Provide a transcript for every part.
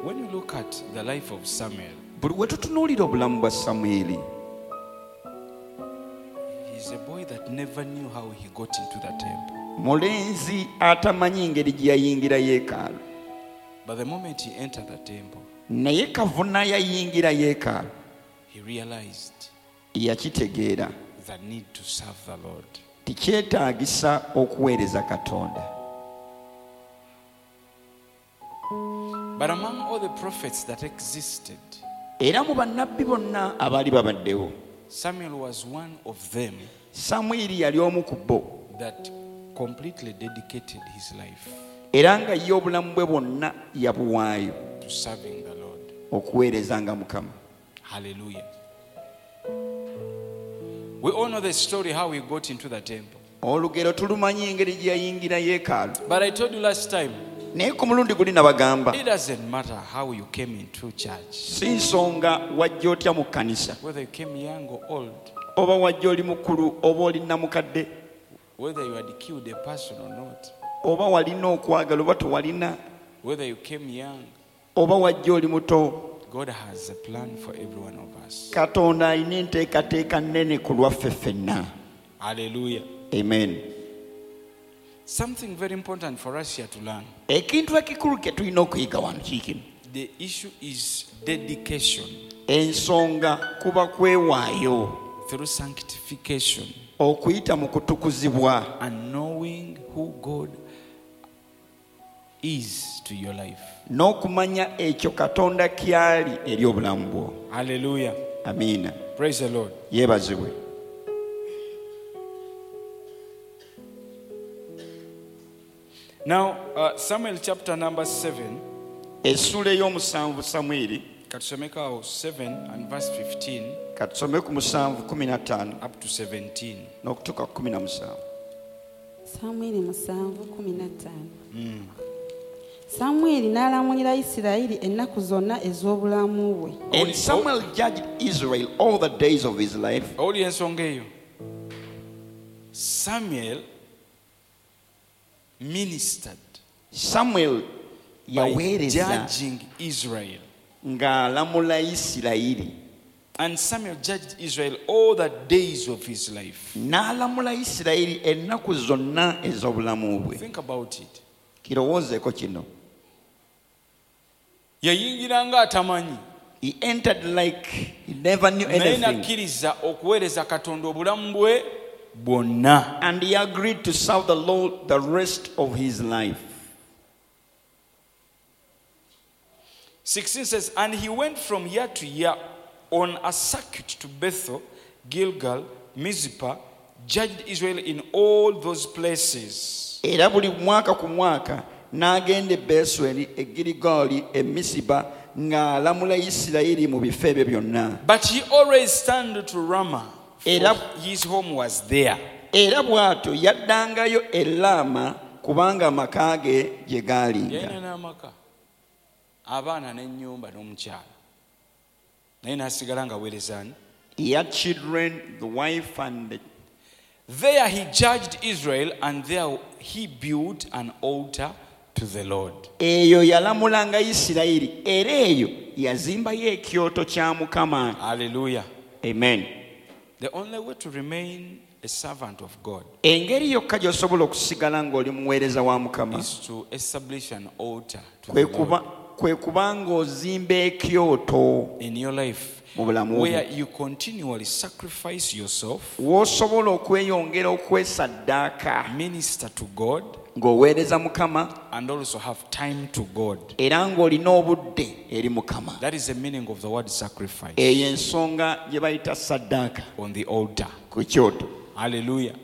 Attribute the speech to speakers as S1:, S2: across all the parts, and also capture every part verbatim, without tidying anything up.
S1: When you look at the life of Samuel,
S2: Buli we tutunuulira obulamu bwa Samwiri,
S1: he's a boy that never knew how he got into the temple.
S2: Mulenzi atamanyi ngeri gye yayingira yeekaalu.
S1: But the moment he entered the temple,
S2: Naye kavuna yayingira yeekaalu,
S1: he realized
S2: yakitegeera
S1: the need to serve the Lord.
S2: Tikyetaagisa okuweereza Katonda.
S1: But among all the prophets that existed,
S2: Era mu bannabbi bonna abaali babaddewo,
S1: Samuel was one of them
S2: Samwiri yali omu ku bo
S1: that completely dedicated his life
S2: era nga ye obulamu bwe bwonna yabuwaayo
S1: to serving the Lord.
S2: Okuweerezanga Mukama.
S1: Hallelujah. We all know the story how he got into the temple.
S2: Olugero tulumanyi engeri gye yayingira yeekaalu.
S1: But I told you last time,
S2: Naye ku mulundi guli nabagamba,
S1: it doesn't matter how you came into church,
S2: si nsonga wajja otya mu kkanisa,
S1: whether you came young or old,
S2: oba wajja oli mukulu oba oli namukadde,
S1: whether you had killed a person or not,
S2: oba walina okwagala oba tewalina,
S1: whether you came young,
S2: oba wajja oli muto,
S1: God has a plan for every one of us.
S2: Katonda alina enteekateeka nnene ku lwaffe ffenna.
S1: Hallelujah.
S2: Amen.
S1: Something very important for us here to learn.
S2: Ekintu ekikulu kye tulina okuyiga wano kiikino.
S1: The issue is dedication
S2: Ensonga kuba kwewaayo
S1: through sanctification
S2: okuyita mu kutukuzibwa
S1: and knowing who God is to your life.
S2: N'okumanya ekyo Katonda kyali eri obulamu bwo.
S1: Hallelujah.
S2: Amiina.
S1: Praise the Lord.
S2: Yeebazibwe.
S1: Now, uh, Samuel chapter number seven,
S2: Essuula ey'omusanvu Samwiri,
S1: katusomeko awo seven and verse fifteen
S2: katusome ku musanvu kumi na ttaano
S1: up to seventeen.
S2: N'okutuuka ku kumi na musanvu.
S3: Samwiri musanvu kumi na ttaano. Samwiri n'alamulira Isirayiri ennaku zonna ez'obulamu bwe.
S2: And Samuel judged Israel all the days of his life.
S1: Owulira ensonga eyo? Samuel ministered
S2: Samuel
S1: by
S2: yaweereza
S1: judging Israel.
S2: Ng'alamula Isirayiri.
S1: And Samuel judged Israel all the days of his life.
S2: N'alamula Isirayiri ennaku zonna ez'obulamu bwe.
S1: Think about it.
S2: Kirowoozeeko kino.
S1: Yayingira nga atamanyi.
S2: He entered like he never knew
S1: Naye
S2: anything.
S1: N'akkiriza okuweereza Katonda obulamu bwe bwonna.
S2: And he agreed to serve the Lord the rest of his life.
S1: sixteen says, "And he went from year to year on a circuit to Bethel, Gilgal, Mizpah, judged Israel in all those places."
S2: Era buli mwaka ku mwaka n'agenda e Besweri, e Girigaali, e Misiba ng'alamula Isirayiri mu bifo ebyo byonna.
S1: But he always turned to Ramah, for
S2: Era-
S1: his home was there.
S2: Era bw'atyo yaddangayo e Laama kubanga amaka ge gye gaalinga.
S1: Yalina n'amaka, abaana n'ennyumba n'omukyala, naye n'asigala nga aweereza ani?
S2: He had children, the wife and the
S1: There he judged Israel, and there he built an altar to the Lord.
S2: Eyo yalamulanga Isirayiri era eyo yazimbayo ekyoto kya Mukama.
S1: Hallelujah.
S2: Amen.
S1: The only way to remain a servant of God
S2: Engeri yokka gy'osobola okusigala ng'oli muweereza wa Mukama
S1: is to establish an altar to
S2: kwe
S1: the Lord
S2: kuba kwe kuba ng'ozimba ekyoto
S1: in your life
S2: mu bulamu bwo
S1: where you continually sacrifice yourself,
S2: w'osobola okweyongera okwesaddaaka
S1: minister to God,
S2: ng'oweereza Mukama
S1: and also have time to God.
S2: Era ng'olina obudde eri Mukama.
S1: That is the meaning of the word sacrifice
S2: Eyo ensonga gye bayita saddaaka
S1: on the altar.
S2: Ku kyoto.
S1: Hallelujah.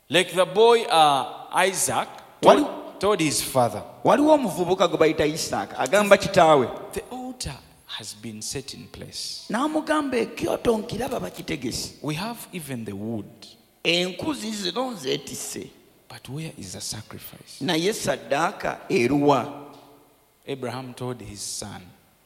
S1: Like the boy uh, Isaac told,
S2: What?
S1: told his father,
S2: Waliwo omuvubuka gwe bayita Isaaka agamba kitaawe,
S1: "The altar has been set in place.
S2: N'amugamba ekyoto nkiraba bakitegese,
S1: We have even the wood,
S2: enku zizino nzeetisse,
S1: but where is the sacrifice?"
S2: Naye saddaaka eruwa?
S1: Abraham told his son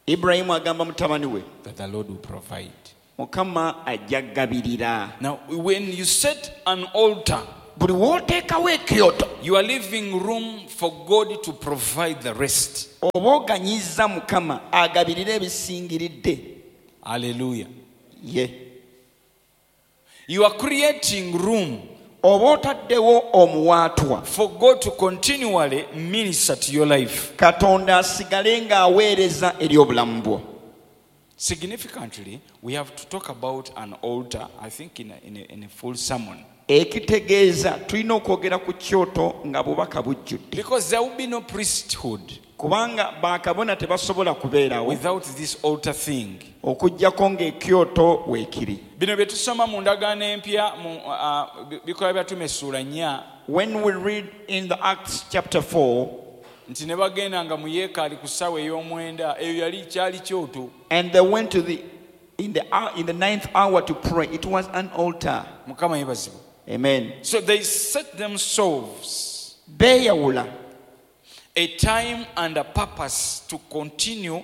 S2: Ibulayimu agamba mutabani we
S1: that the Lord will provide.
S2: Mukama ajja kugabirira.
S1: Now, when you set an altar,
S2: Buli w'oteekawo ekyoto,
S1: you are leaving room for God to provide the rest.
S2: Oba oganyizza Mukama agabirire ebisingiridde.
S1: Hallelujah.
S2: Ye.
S1: You are creating room
S2: oba otaddewo omuwaatwa
S1: for God to continually minister to your life.
S2: Katonda asigale ng'aweereza eri obulamu bwo.
S1: Significantly, we have to talk about an altar, I think, in a, in a, in a full sermon.
S2: Ekitegeeza tulina okwogera ku kyoto nga bubaka bujjudde.
S1: Because there will be no priesthood
S2: kubanga bakabona tebasobola kubeerawo
S1: without this altar thing.
S2: Okuggyako ng'ekyoto weekiri.
S1: Bino bye tusoma mu ndagaano empya mu uh, bikolwa bya Tume essuula nnya.
S2: When we read in the Acts chapter four,
S1: nti ne bagendanga mu yeekaali ku ssaawa ey'omwenda, eyo yali kyali kyoto.
S2: And they went to the in the hour, in the ninth hour to pray. It was an altar.
S1: Mukama yeebazibwe.
S2: Amen.
S1: So they set themselves
S2: beeyawula
S1: a time and a purpose to continue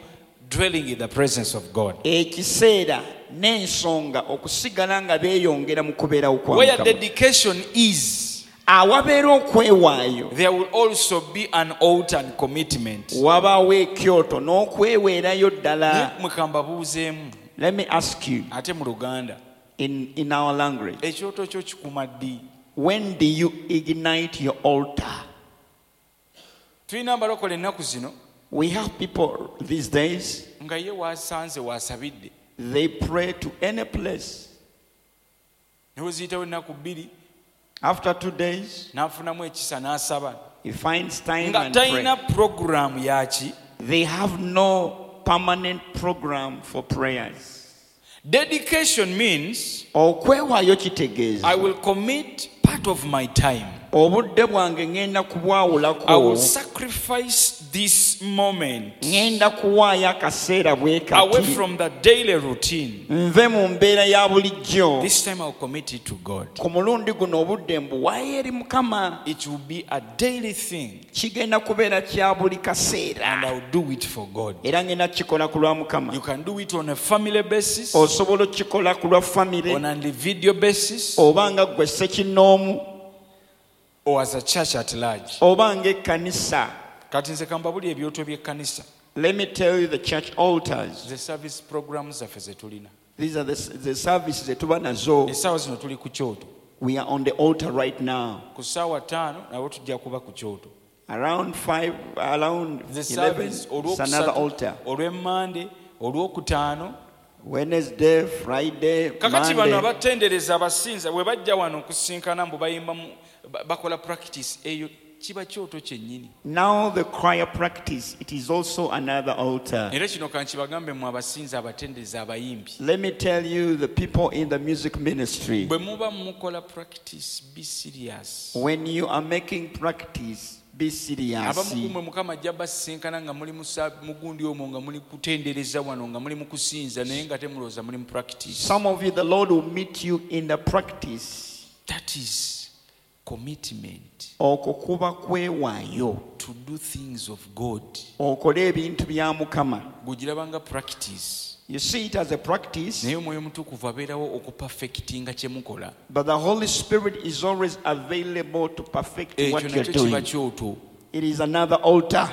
S1: dwelling in the presence of God.
S2: Ekiseera n'ensonga okusigala nga beeyongera mu kubeerawo kwa
S1: Where
S2: Mukama.
S1: dedication is,
S2: awabeera okwewaayo,
S1: there will also be an altar and commitment.
S2: Wabaawo ekyoto n'okweweerayo ddala.
S1: Mukamba buuzeemu.
S2: Let me ask you
S1: ate mu Luganda
S2: in, in our language,
S1: ekyoto kyo kikuma ddi?
S2: When do you ignite your altar?
S1: Tulina abalokole ennaku zino
S2: We have people these days,
S1: nga ye waasanze waasabidde.
S2: They pray to any place.
S1: Ne bwe ziyitawo ennaku bbiri,
S2: After two days,
S1: n'afunamu ekisa n'asaba.
S2: He finds time
S1: nga
S2: and pray.
S1: talina puroguraamu yaki.
S2: They have no permanent program for prayers.
S1: Dedication means
S2: okwewaayo kitegeeza
S1: I will commit part of my time.
S2: Obudde bwange ŋŋenda kubwawulako.
S1: I will sacrifice this moment
S2: ŋŋenda kuwaayo akaseera bwe
S1: away
S2: kati
S1: from the daily routine.
S2: Nve mu mbeera ya bulijjo.
S1: This time I'll commit it to God.
S2: Ku mulundi guno obudde mbuwaayo eri Mukama.
S1: It will be a daily thing,
S2: kigenda kubeera kya buli kaseera
S1: and I'll do it for God.
S2: Era ŋŋenda kukikola ku lwa Mukama.
S1: You can do it on a family basis,
S2: osobola okukikola ku lwa famire
S1: on an individual basis,
S2: oba nga ggwe ssekinnoomu
S1: or as a church at large.
S2: Oba ng'ekkanisa.
S1: Kati nze kambabuli ebyoto by'ekkanisa.
S2: Let me tell you the church altars.
S1: The service programs zaffe ze tulina.
S2: These are the, the services ze tuba nazo.
S1: Essaawa zino tuli ku kyoto.
S2: We are on the altar right now.
S1: Ku ssaawa ttaano nabo tujja kuba ku kyoto.
S2: Around five, around
S1: The
S2: eleven,
S1: service
S2: it's another
S1: olwokusatu,
S2: altar.
S1: olw'emmande, olwokutaano.
S2: Wednesday, Friday,
S1: Kakati bano
S2: Monday.
S1: abatendereza abasinza bwe bajja wano okusinkana mbu bayimba mu- ba- bakola practice eyo kiba kyoto kyennyini.
S2: Now the choir practice, it is also another altar.
S1: Era kino kankibagambe mu abasinza abatendereza abayimbi.
S2: Let me tell you, the people in the music ministry,
S1: Bwe muba mukola practice, be serious.
S2: When you are making practice, be serious.
S1: Abamu ku mmwe Mukama ajja basisinkana nga muli mu sa- mu gundi omwo nga muli kutendereza wano nga muli mu kusinza naye nga temulowooza muli mu practice.
S2: Some of you, the Lord will meet you in the practice.
S1: That is commitment
S2: okwo kuba kwewaayo
S1: to do things of God.
S2: Okole ebintu bya Mukama.
S1: Gw'ogiraba nga practice.
S2: You see it as a practice,
S1: naye Omwoyo Omutukuvu abeerawo okuperfectinga kye mukola.
S2: But the Holy Spirit is always available to perfect
S1: ekyo
S2: what you're
S1: nakyo kiba
S2: doing.
S1: kyoto.
S2: It is another altar.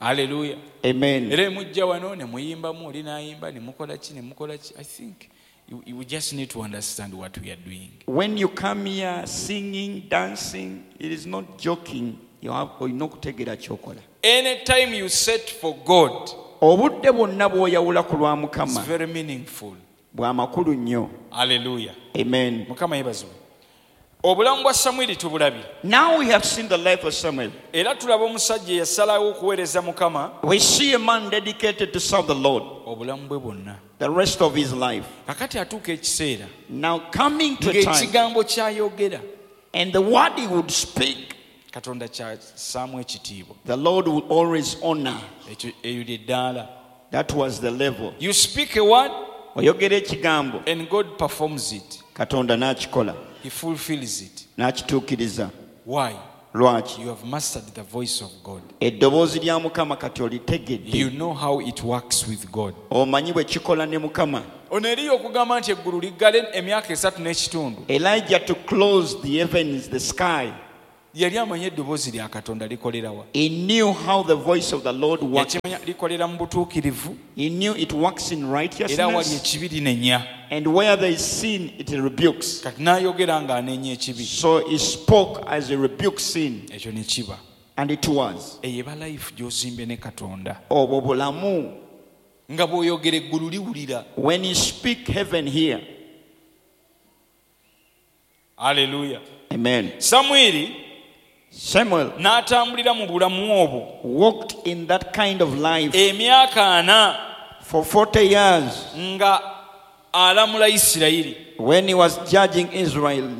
S1: Haleluya.
S2: Amen.
S1: Era mujja wano ne muyimbamu oli n'ayimba ne mukola ki ne mukola ki. I think you, you just need to understand what we are doing.
S2: When you come here singing, dancing, it is not joking. You have olina okutegeera ky'okola.
S1: Anytime you set for God,
S2: obudde bwonna bw'oyawula ku lwa
S1: it's
S2: Mukama
S1: very meaningful.
S2: Bwa makulu nnyo.
S1: Haleluya.
S2: Amen.
S1: Mukama yeebazibwe. Obulamu bwa Samwiri tubulabye.
S2: Now we have seen the life of Samuel.
S1: Era tulaba omusajja eyasalawo okuweereza Mukama
S2: We see a man dedicated to serve the Lord
S1: obulamu bwe bwonna.
S2: The rest of his life.
S1: Kakati atuuka ekiseera
S2: Now coming to a time,
S1: ng'ekigambo ky'ayogera
S2: and the word he would speak,
S1: Katonda kyassaamu ekitiibwa.
S2: The Lord will always honor.
S1: Ekyo eryo ly'eddaala.
S2: That was the level.
S1: You speak a word
S2: oyogera ekigambo
S1: and God performs it.
S2: Katonda n'akikola.
S1: He fulfills it.
S2: N'akituukiriza.
S1: Why?
S2: Lwaki?
S1: You have mastered the voice of God.
S2: Eddoboozi lya Mukama kati olitegedde.
S1: You know how it works with God.
S2: Omanyi bwe kikola ne Mukama.
S1: Ono eriyo okugamba nti eggulu liggale emyaka esatu n'ekitundu.
S2: Elijah to close the heavens, the sky.
S1: Yali amanyi eddoboozi lya Katonda likolera wa.
S2: He knew how the voice of the Lord works.
S1: Yakimanya likolera mu butuukirivu.
S2: He knew it works in
S1: Era wali
S2: righteousness.
S1: ekibi linenya.
S2: And where there is sin, it rebukes.
S1: Kati n'ayogera ng'anenya ekibi.
S2: So he spoke as he rebuked sin.
S1: Ekyo ne kiba.
S2: And it was.
S1: Eyo eba life gy'ozimbye ne Katonda.
S2: Obwo bulamu.
S1: Nga bw'oyogera eggulu liwulira.
S2: When you speak, heaven hear.
S1: Hallelujah.
S2: Amen.
S1: Samwiri
S2: Samuel
S1: n'atambulira mu bulamu obwo
S2: walked in that kind of life
S1: emyaka ana
S2: for forty years
S1: nga alamula Isirayiri.
S2: When he was judging Israel.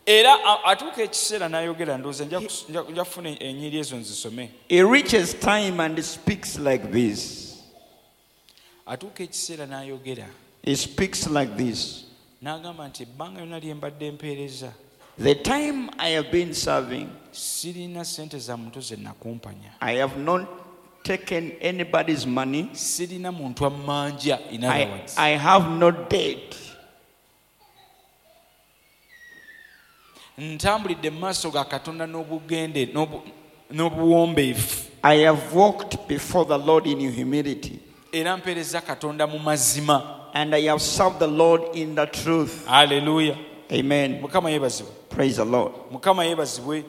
S1: Era atuuka ekiseera n'ayogera, ndowooza nja kus-, nja, nja kufuna ennyiriri ezo nzisome.
S2: He reaches time and speaks like this.
S1: Atuuka ekiseera n'ayogera.
S2: He speaks like this.
S1: N'agamba nti ebbanga lyonna lye mbadde mpeereza.
S2: The time I have been serving,
S1: sirina ssente za muntu ze nakumpanya.
S2: I have not taken anybody's money.
S1: Sirina muntu ammanja, in other
S2: I,
S1: words.
S2: I have no debt.
S1: Ntambulidde mu maaso ga Katonda n'obugende, n'obu-, n'obuwombeefu.
S2: I have walked before the Lord in humility.
S1: Era mpeereza Katonda mu mazima.
S2: And I have served the Lord in the truth.
S1: Hallelujah.
S2: Amen.
S1: Mukama yeebazibwe.
S2: Praise the Lord.
S1: Mukama yeebazibwe.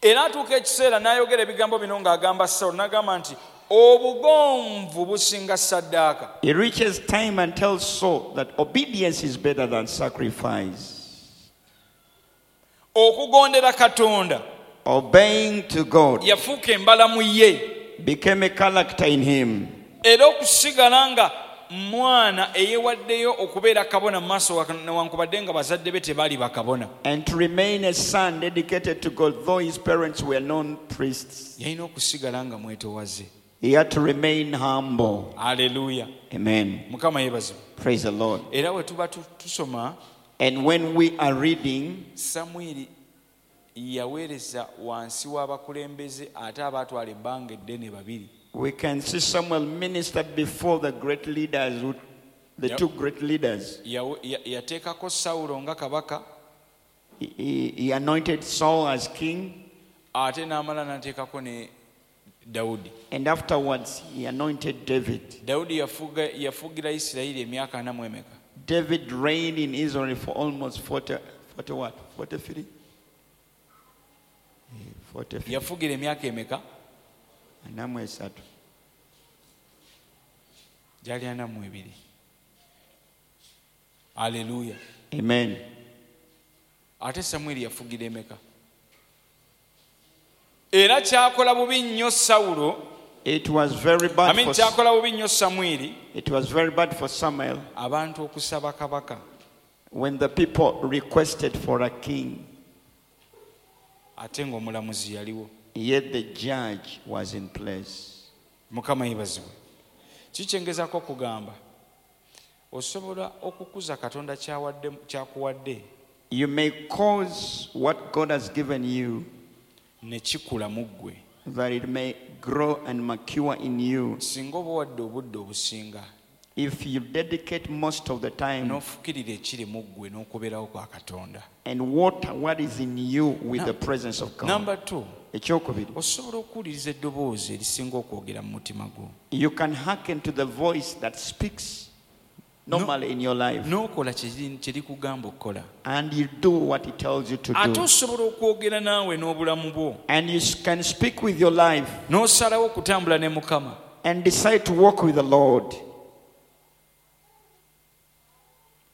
S1: Era atuuka ekiseera n'ayogera ebigambo bino ng'agamba Sawulo, n'agamba nti obugonvu businga ssaddaaka.
S2: He reaches time and tells Saul that obedience is better than sacrifice.
S1: Okugondera Katonda.
S2: Obeying to God.
S1: Yafuuka embalamu ye.
S2: Became a character in him.
S1: Era okusigala nga mwana eyewaddeyo okubeera kabona mu maaso ga Katonda, newankubadde nga bazadde be tebaali bakabona.
S2: And to remain a son dedicated to God, though his parents were non-priests.
S1: Yalina okusigala nga mwetowaze.
S2: He had to remain humble.
S1: Hallelujah.
S2: Amen.
S1: Mukama yeebazibwe.
S2: Praise the Lord.
S1: Era bwe tuba tu-, tusoma,
S2: And when we are reading,
S1: Samwiri yaweereza wansi w'abakulembeze ate abaatwala ebbanga eddene babiri.
S2: We can see Samuel ministered before the great leaders, who, the
S1: Yep.
S2: two great leaders.
S1: Yawe-, ya-, yateekako Sawulo nga kabaka.
S2: He, he, he anointed Saul as king.
S1: Ate n'amala n'ateekako ne Dawudi.
S2: And afterwards he anointed David.
S1: Dawudi yafuga, yafugira Isirayiri emyaka ana mu emeka.
S2: David reigned in Israel for almost forty, forty what? forty-three? forty-three.
S1: Yafugira emyaka emeka?
S2: Ana mu esatu.
S1: Gyali ana mu ebiri. Hallelujah.
S2: Amen.
S1: Ate Samwiri yafugira emeka? Era kyakola bubi nnyo Sawulo.
S2: It was very bad
S1: I mean,
S2: for
S1: kyakola bubi nnyo Samwiri.
S2: It was very bad for Samuel.
S1: Abantu okusaba kabaka.
S2: When the people requested for a king.
S1: Ate ng'omulamuzi yaliwo.
S2: Yet the judge was in place.
S1: Mukama yeebazibwe. Kiki kye ngezaako okugamba? Osobola okukuza Katonda ky'awadde, ky'akuwadde.
S2: You may cause what God has given you
S1: ne kikula mu ggwe.
S2: that it may grow and mature in you.
S1: Singa oba owadde obudde obusinga.
S2: If you dedicate most of the time
S1: n'ofukirira ekiri mu ggwe n'okubeerawo kwa Katonda.
S2: and water what is in you with
S1: Now,
S2: the presence of God.
S1: Number two,
S2: Ekyokubiri.
S1: osobola okuwuliriza eddoboozi erisinga okwogera mu mutima gwo.
S2: You can hearken to the voice that speaks normally in your life.
S1: N'okola kye kye likugamba okukola.
S2: And you do what it tells you to
S1: Ate
S2: do.
S1: osobola okwogera naawe n'obulamu bwo.
S2: And you s-, can speak with your life.
S1: N'osalawo okutambula ne Mukama.
S2: And decide to walk with the Lord.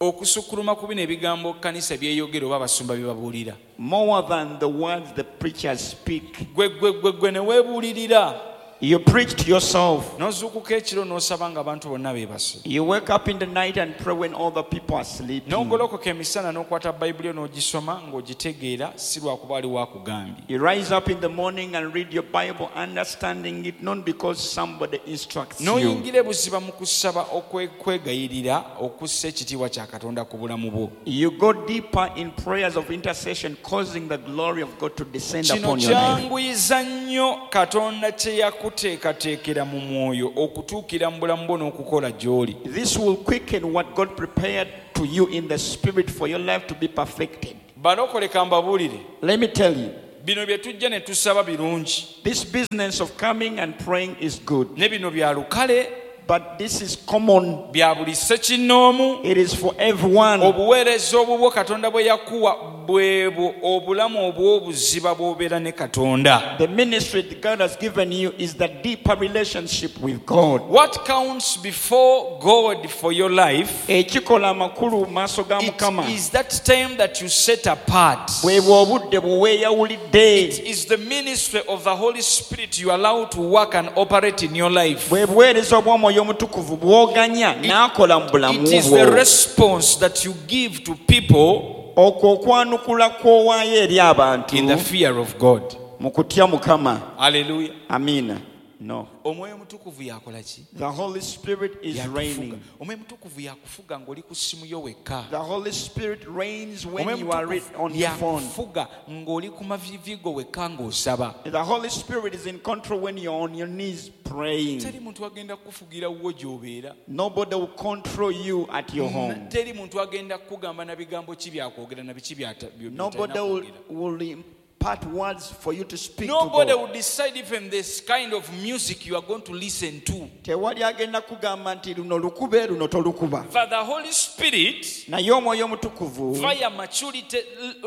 S1: Okusukkuluma ku bino ebigambo kkanisa byeyogera oba abasumba bye babuulira.
S2: More than the words the preachers speak.
S1: Gwe, gwe, gwe, gwe ne weebuulirira.
S2: You preach to yourself.
S1: N'ozuukuka ekiro n'osaba ng'abantu bonna beebase.
S2: You wake up in the night and pray when all the people are sleeping.
S1: N'ogolokoka emisana n'okwata bayibuli yo n'ogisoma ng'ogitegeera si lwakuba waliwo akugambye.
S2: You rise up in the morning and read your Bible, understanding it, not because somebody instructs you.
S1: N'oyingira ebuziba mu kusaba okwegayirira okussa ekitiibwa kya Katonda ku bulamu bwo.
S2: You go deeper in prayers of intercession, causing the glory of God to descend
S1: Kino
S2: upon your life.
S1: kyanguyiza nnyo Katonda kye yakuteekateekera mu mwoyo okutuukira mu bulamu bwo n'okukola gy'oli.
S2: This will quicken what God prepared to you in the spirit for your life to be perfected.
S1: Balokole ka mbabuulire.
S2: Let me tell you.
S1: Bino bye tujja ne tusaba birungi.
S2: This business of coming and praying is good.
S1: Ne bino bya lukale.
S2: But this is common.
S1: Bya buli ssekinnoomu.
S2: It is for everyone.
S1: Obuweereza obubwo Katonda bwe yakuwa bwebwo obulamu obw'obuziba bw'obeera ne Katonda.
S2: The ministry that God has given you is the deeper relationship with God.
S1: What counts before God for your life?
S2: Ekikola amakulu mu maaso ga Mukama.
S1: It is that time that you set apart.
S2: Bwebwo obudde bwe weeyawulidde.
S1: It is the ministry of the Holy Spirit you allow to work and operate in your life.
S2: Bwe buweereza obw'Omwoyo Omutukuvu bw'oganya n'akola mu bulamu
S1: It is the
S2: bwo.
S1: response that you give to people
S2: Okwo okwanukula kw'owaayo eri abantu
S1: in the fear of God.
S2: mu kutya Mukama.
S1: Hallelujah.
S2: Amiina. No.
S1: Omwoyo Omutukuvu yakola ki?
S2: The Holy Spirit is
S1: Yakufuga.
S2: reigning.
S1: Omwoyo Omutukuvu yakufuga ng'oli ku ssimu yo wekka.
S2: The Holy Spirit reigns when
S1: Omwoyo
S2: you are
S1: Omutukuvu
S2: on your phone.
S1: yakufuga ng'oli ku maviivi go wekka ng'osaba.
S2: The Holy Spirit is in control when you're on your knees praying.
S1: Teri muntu agenda kukufugira wuwo gy'obeera.
S2: Nobody will control you at your home.
S1: Teri muntu agenda kukugamba na bigambo ki byakwogera na biki byata- byo-
S2: Nobody
S1: by'otalina
S2: will,
S1: kwogera.
S2: will impart words for you to speak to
S1: Nobody
S2: God.
S1: will decide even this kind of music you are going to listen to.
S2: Tewali agenda kugamba nti luno lukube luno tolukuba.
S1: For the Holy Spirit,
S2: Naye Omwoyo Omutukuvu
S1: via maturity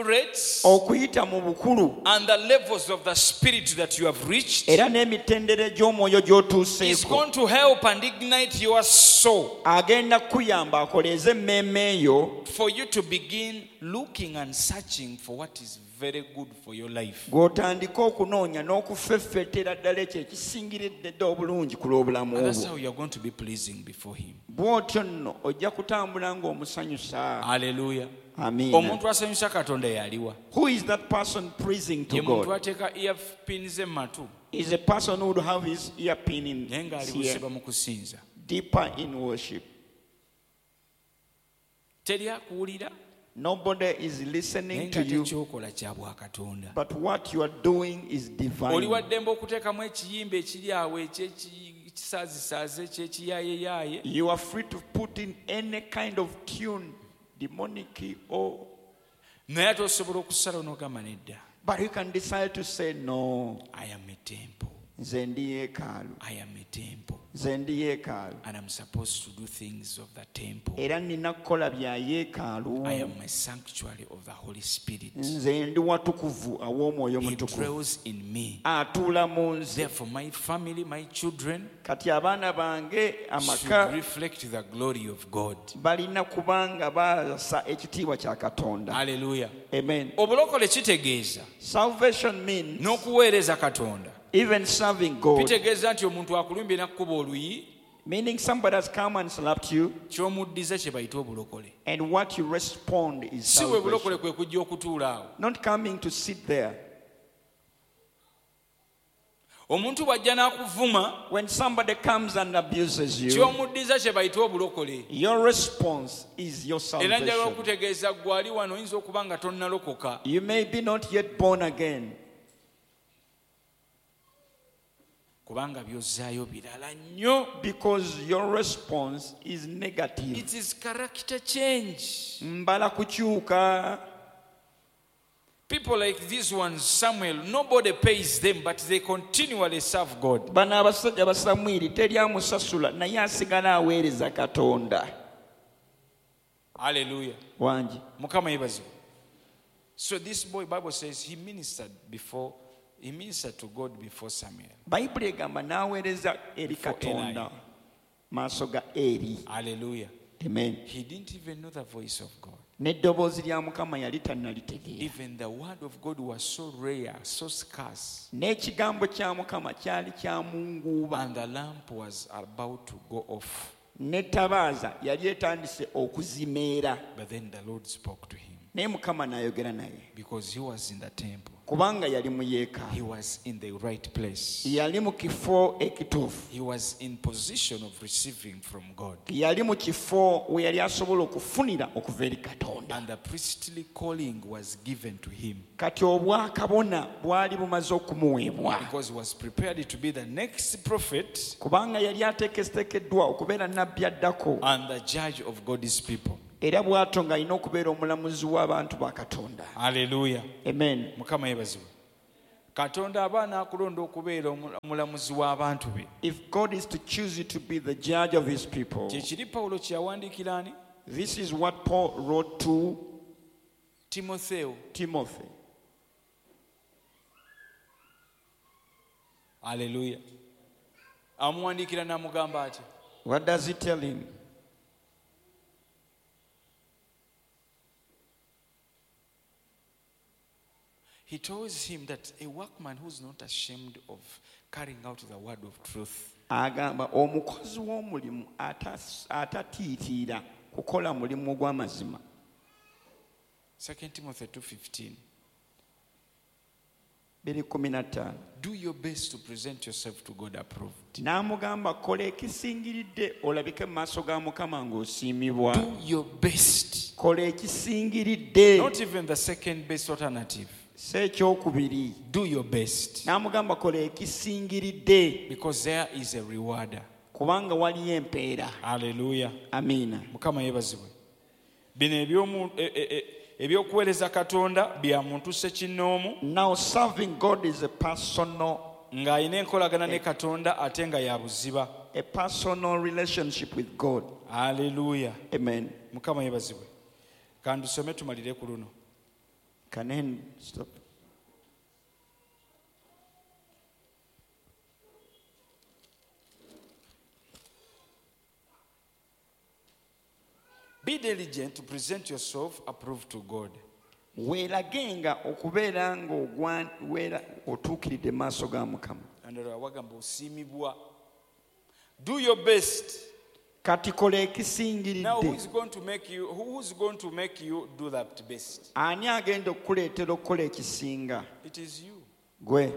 S1: rates
S2: okuyita mu bukulu
S1: and the levels of the Spirit that you have reached,
S2: era n'emitendera gy'omwoyo
S1: is
S2: gy'otuuseeko
S1: going to help and ignite your soul
S2: agenda kukuyamba akoleeze emmeeme yo
S1: for you to begin looking and searching for what is very good for your life.
S2: gw'otandika okunoonya n'okufeffetera ddala ekyo ekisingiridde dda obulungi ku lw'obulamu
S1: And that's
S2: bwo.
S1: how you are going to be pleasing before Him.
S2: Bw'otyo nno ojja kutambula ng'omusanyusa.
S1: Hallelujah.
S2: Amiina.
S1: Omuntu asanyusa Katonda yaliwa.
S2: Who is that person pleasing to
S1: Ye muntu
S2: God?
S1: ateeka earpins mu matu
S2: Is a person who would have his ear pin in
S1: naye ng'ali
S2: his ear,
S1: busiba mu kusinza.
S2: deeper in worship.
S1: Teri akuwulira
S2: Nobody is
S1: naye
S2: listening
S1: nga
S2: to you,
S1: tekyokola kya bwakatonda.
S2: but what you are doing is
S1: Oli
S2: divine.
S1: wa ddembe okuteekamu ekiyimba ekiri awo eky'ekisaazisaazi eky'ekiyaayeeyaaye.
S2: You are free to put in any kind of tune, demonic or,
S1: Naye ate osobola okusalawo n'ogamba nedda.
S2: but you can decide to say no.
S1: I am a temple.
S2: Nze ndi yeekaalu.
S1: I am a temple.
S2: Nze ndi yeekaalu.
S1: And I'm supposed to do things of the temple.
S2: Era nnina kukola bya yeekaalu.
S1: I am a sanctuary of the Holy Spirit.
S2: Nze ndi watukuvu aw'Omwoyo
S1: He
S2: Omutukuvu.
S1: dwells in me.
S2: Atuula mu nze.
S1: Therefore, my family, my children
S2: Kati abaana bange amaka
S1: should reflect the glory of God.
S2: balina kubanga baasa ekitiibwa kya Katonda.
S1: Hallelujah.
S2: Amen.
S1: Obulokole kitegeeza
S2: Salvation means
S1: n'okuweereza Katonda.
S2: even serving God,
S1: Bitegeeza nti omuntu akulumbye n'akkuba oluyi,
S2: meaning somebody has come and slapped you,
S1: ky'omuddiza kye bayita obulokole.
S2: and what you respond is
S1: Si bwe bulokole
S2: salvation.
S1: kwe kujja okutuula awo.
S2: Not coming to sit there.
S1: Omuntu bw'ajja n'akuvuma,
S2: When somebody comes and abuses you,
S1: ky'omuddiza kye bayita obulokole.
S2: your response is your
S1: Era njagala
S2: salvation.
S1: okutegeeza ggwe ali wano oyinza okuba nga tonnalokoka.
S2: You may be not yet born again,
S1: Kubanga by'ozzaayo birala nnyo.
S2: because your response is negative.
S1: It is character change.
S2: Mbala kukyuka.
S1: People like these ones, Samuel, nobody pays them, but they continually serve God.
S2: Bano abasajja ba Samwiri teri amusasula naye asigala aweereza Katonda.
S1: Hallelujah.
S2: Wangi.
S1: Mukama yeebazibwe. So this boy, Bible says, he ministered before, he ministered to God before Samuel.
S2: Bayibuli egamba n'aweereza eri
S1: Before
S2: Katonda
S1: Eli.
S2: maaso ga Eri.
S1: Hallelujah.
S2: Amen.
S1: He didn't even know the voice of God.
S2: N'eddoboozi lya Mukama yali tannalitegeera.
S1: Even the word of God was so rare, so scarce.
S2: N'ekigambo kya Mukama kyali kya munguuba.
S1: And the lamp was about to go off.
S2: N'ettabaaza yali etandise okuzimeera.
S1: But then the Lord spoke to him.
S2: Naye Mukama n'ayogera naye.
S1: Because he was in the temple.
S2: Kubanga yali mu yeekaalu.
S1: He was in the right place.
S2: Yali mu kifo ekituufu.
S1: He was in position of receiving from God.
S2: Yali mu kifo we yali asobola okufunira okuva eri Katonda.
S1: And the priestly calling was given to him.
S2: Kati obwakabona bwali bumaze okumuweebwa.
S1: Because he was prepared to be the next prophet.
S2: Kubanga yali ateeketeekeddwa okubeera nabbi addako.
S1: And the judge of God's people.
S2: Era bw'atyo ng'alina okubeera omulamuzi w'abantu ba Katonda.
S1: Hallelujah.
S2: Amen.
S1: Mukama yeebazibwe. Katonda aba anaakulonda okubeera omulamuzi w'abantu be.
S2: If God is to choose you to be the judge of his people.
S1: Kye kiri Pawulo kye yawandiikira ani?
S2: This is what Paul wrote to
S1: Timotheo.
S2: Timothy.
S1: Hallelujah. Amuwandiikira n'amugamba atya?
S2: What does he tell him?
S1: He tells him that a workman who's not ashamed of carrying out the word of truth.
S2: Agamba omukozi w'omulimu atatiitiira kukola mulimu gw'amazima.
S1: Second Timothy two fifteen.
S2: Biri kumi na ttaano.
S1: Do your best to present yourself to God approved.
S2: N'amugamba kola ekisingiridde olabike mu maaso ga Mukama ng'osiimibwa.
S1: Do your best.
S2: Kola ekisingiridde.
S1: Not even the second best alternative.
S2: Si ekyokubiri.
S1: Do your best.
S2: N'amugamba kola ekisingiridde.
S1: Because there is a rewarder.
S2: Kubanga waliyo empeera.
S1: Hallelujah.
S2: Amiina.
S1: Mukama yeebazibwe. Bino eby'omu ebyokuweereza Katonda bya muntu ssekinnoomu.
S2: Now serving God is a personal,
S1: ng'alina enkolagana ne Katonda ate nga ya buziba.
S2: A personal relationship with God.
S1: Hallelujah.
S2: Amen.
S1: Mukama yeebazibwe. Kandusome tumalire ku luno.
S2: Can I stop?
S1: Be diligent to present yourself approved to God.
S2: Weeragenga okubeera ng'ogwa otuukiridde maaso ga Mukama.
S1: Andala wagamba osiimibwa. Do your best.
S2: Kati kola ekisingiridde.
S1: Now who is going to make you, who is going to make you do that best?
S2: Ani agenda okukuleetera okukola ekisinga?
S1: It is you.
S2: Gwe.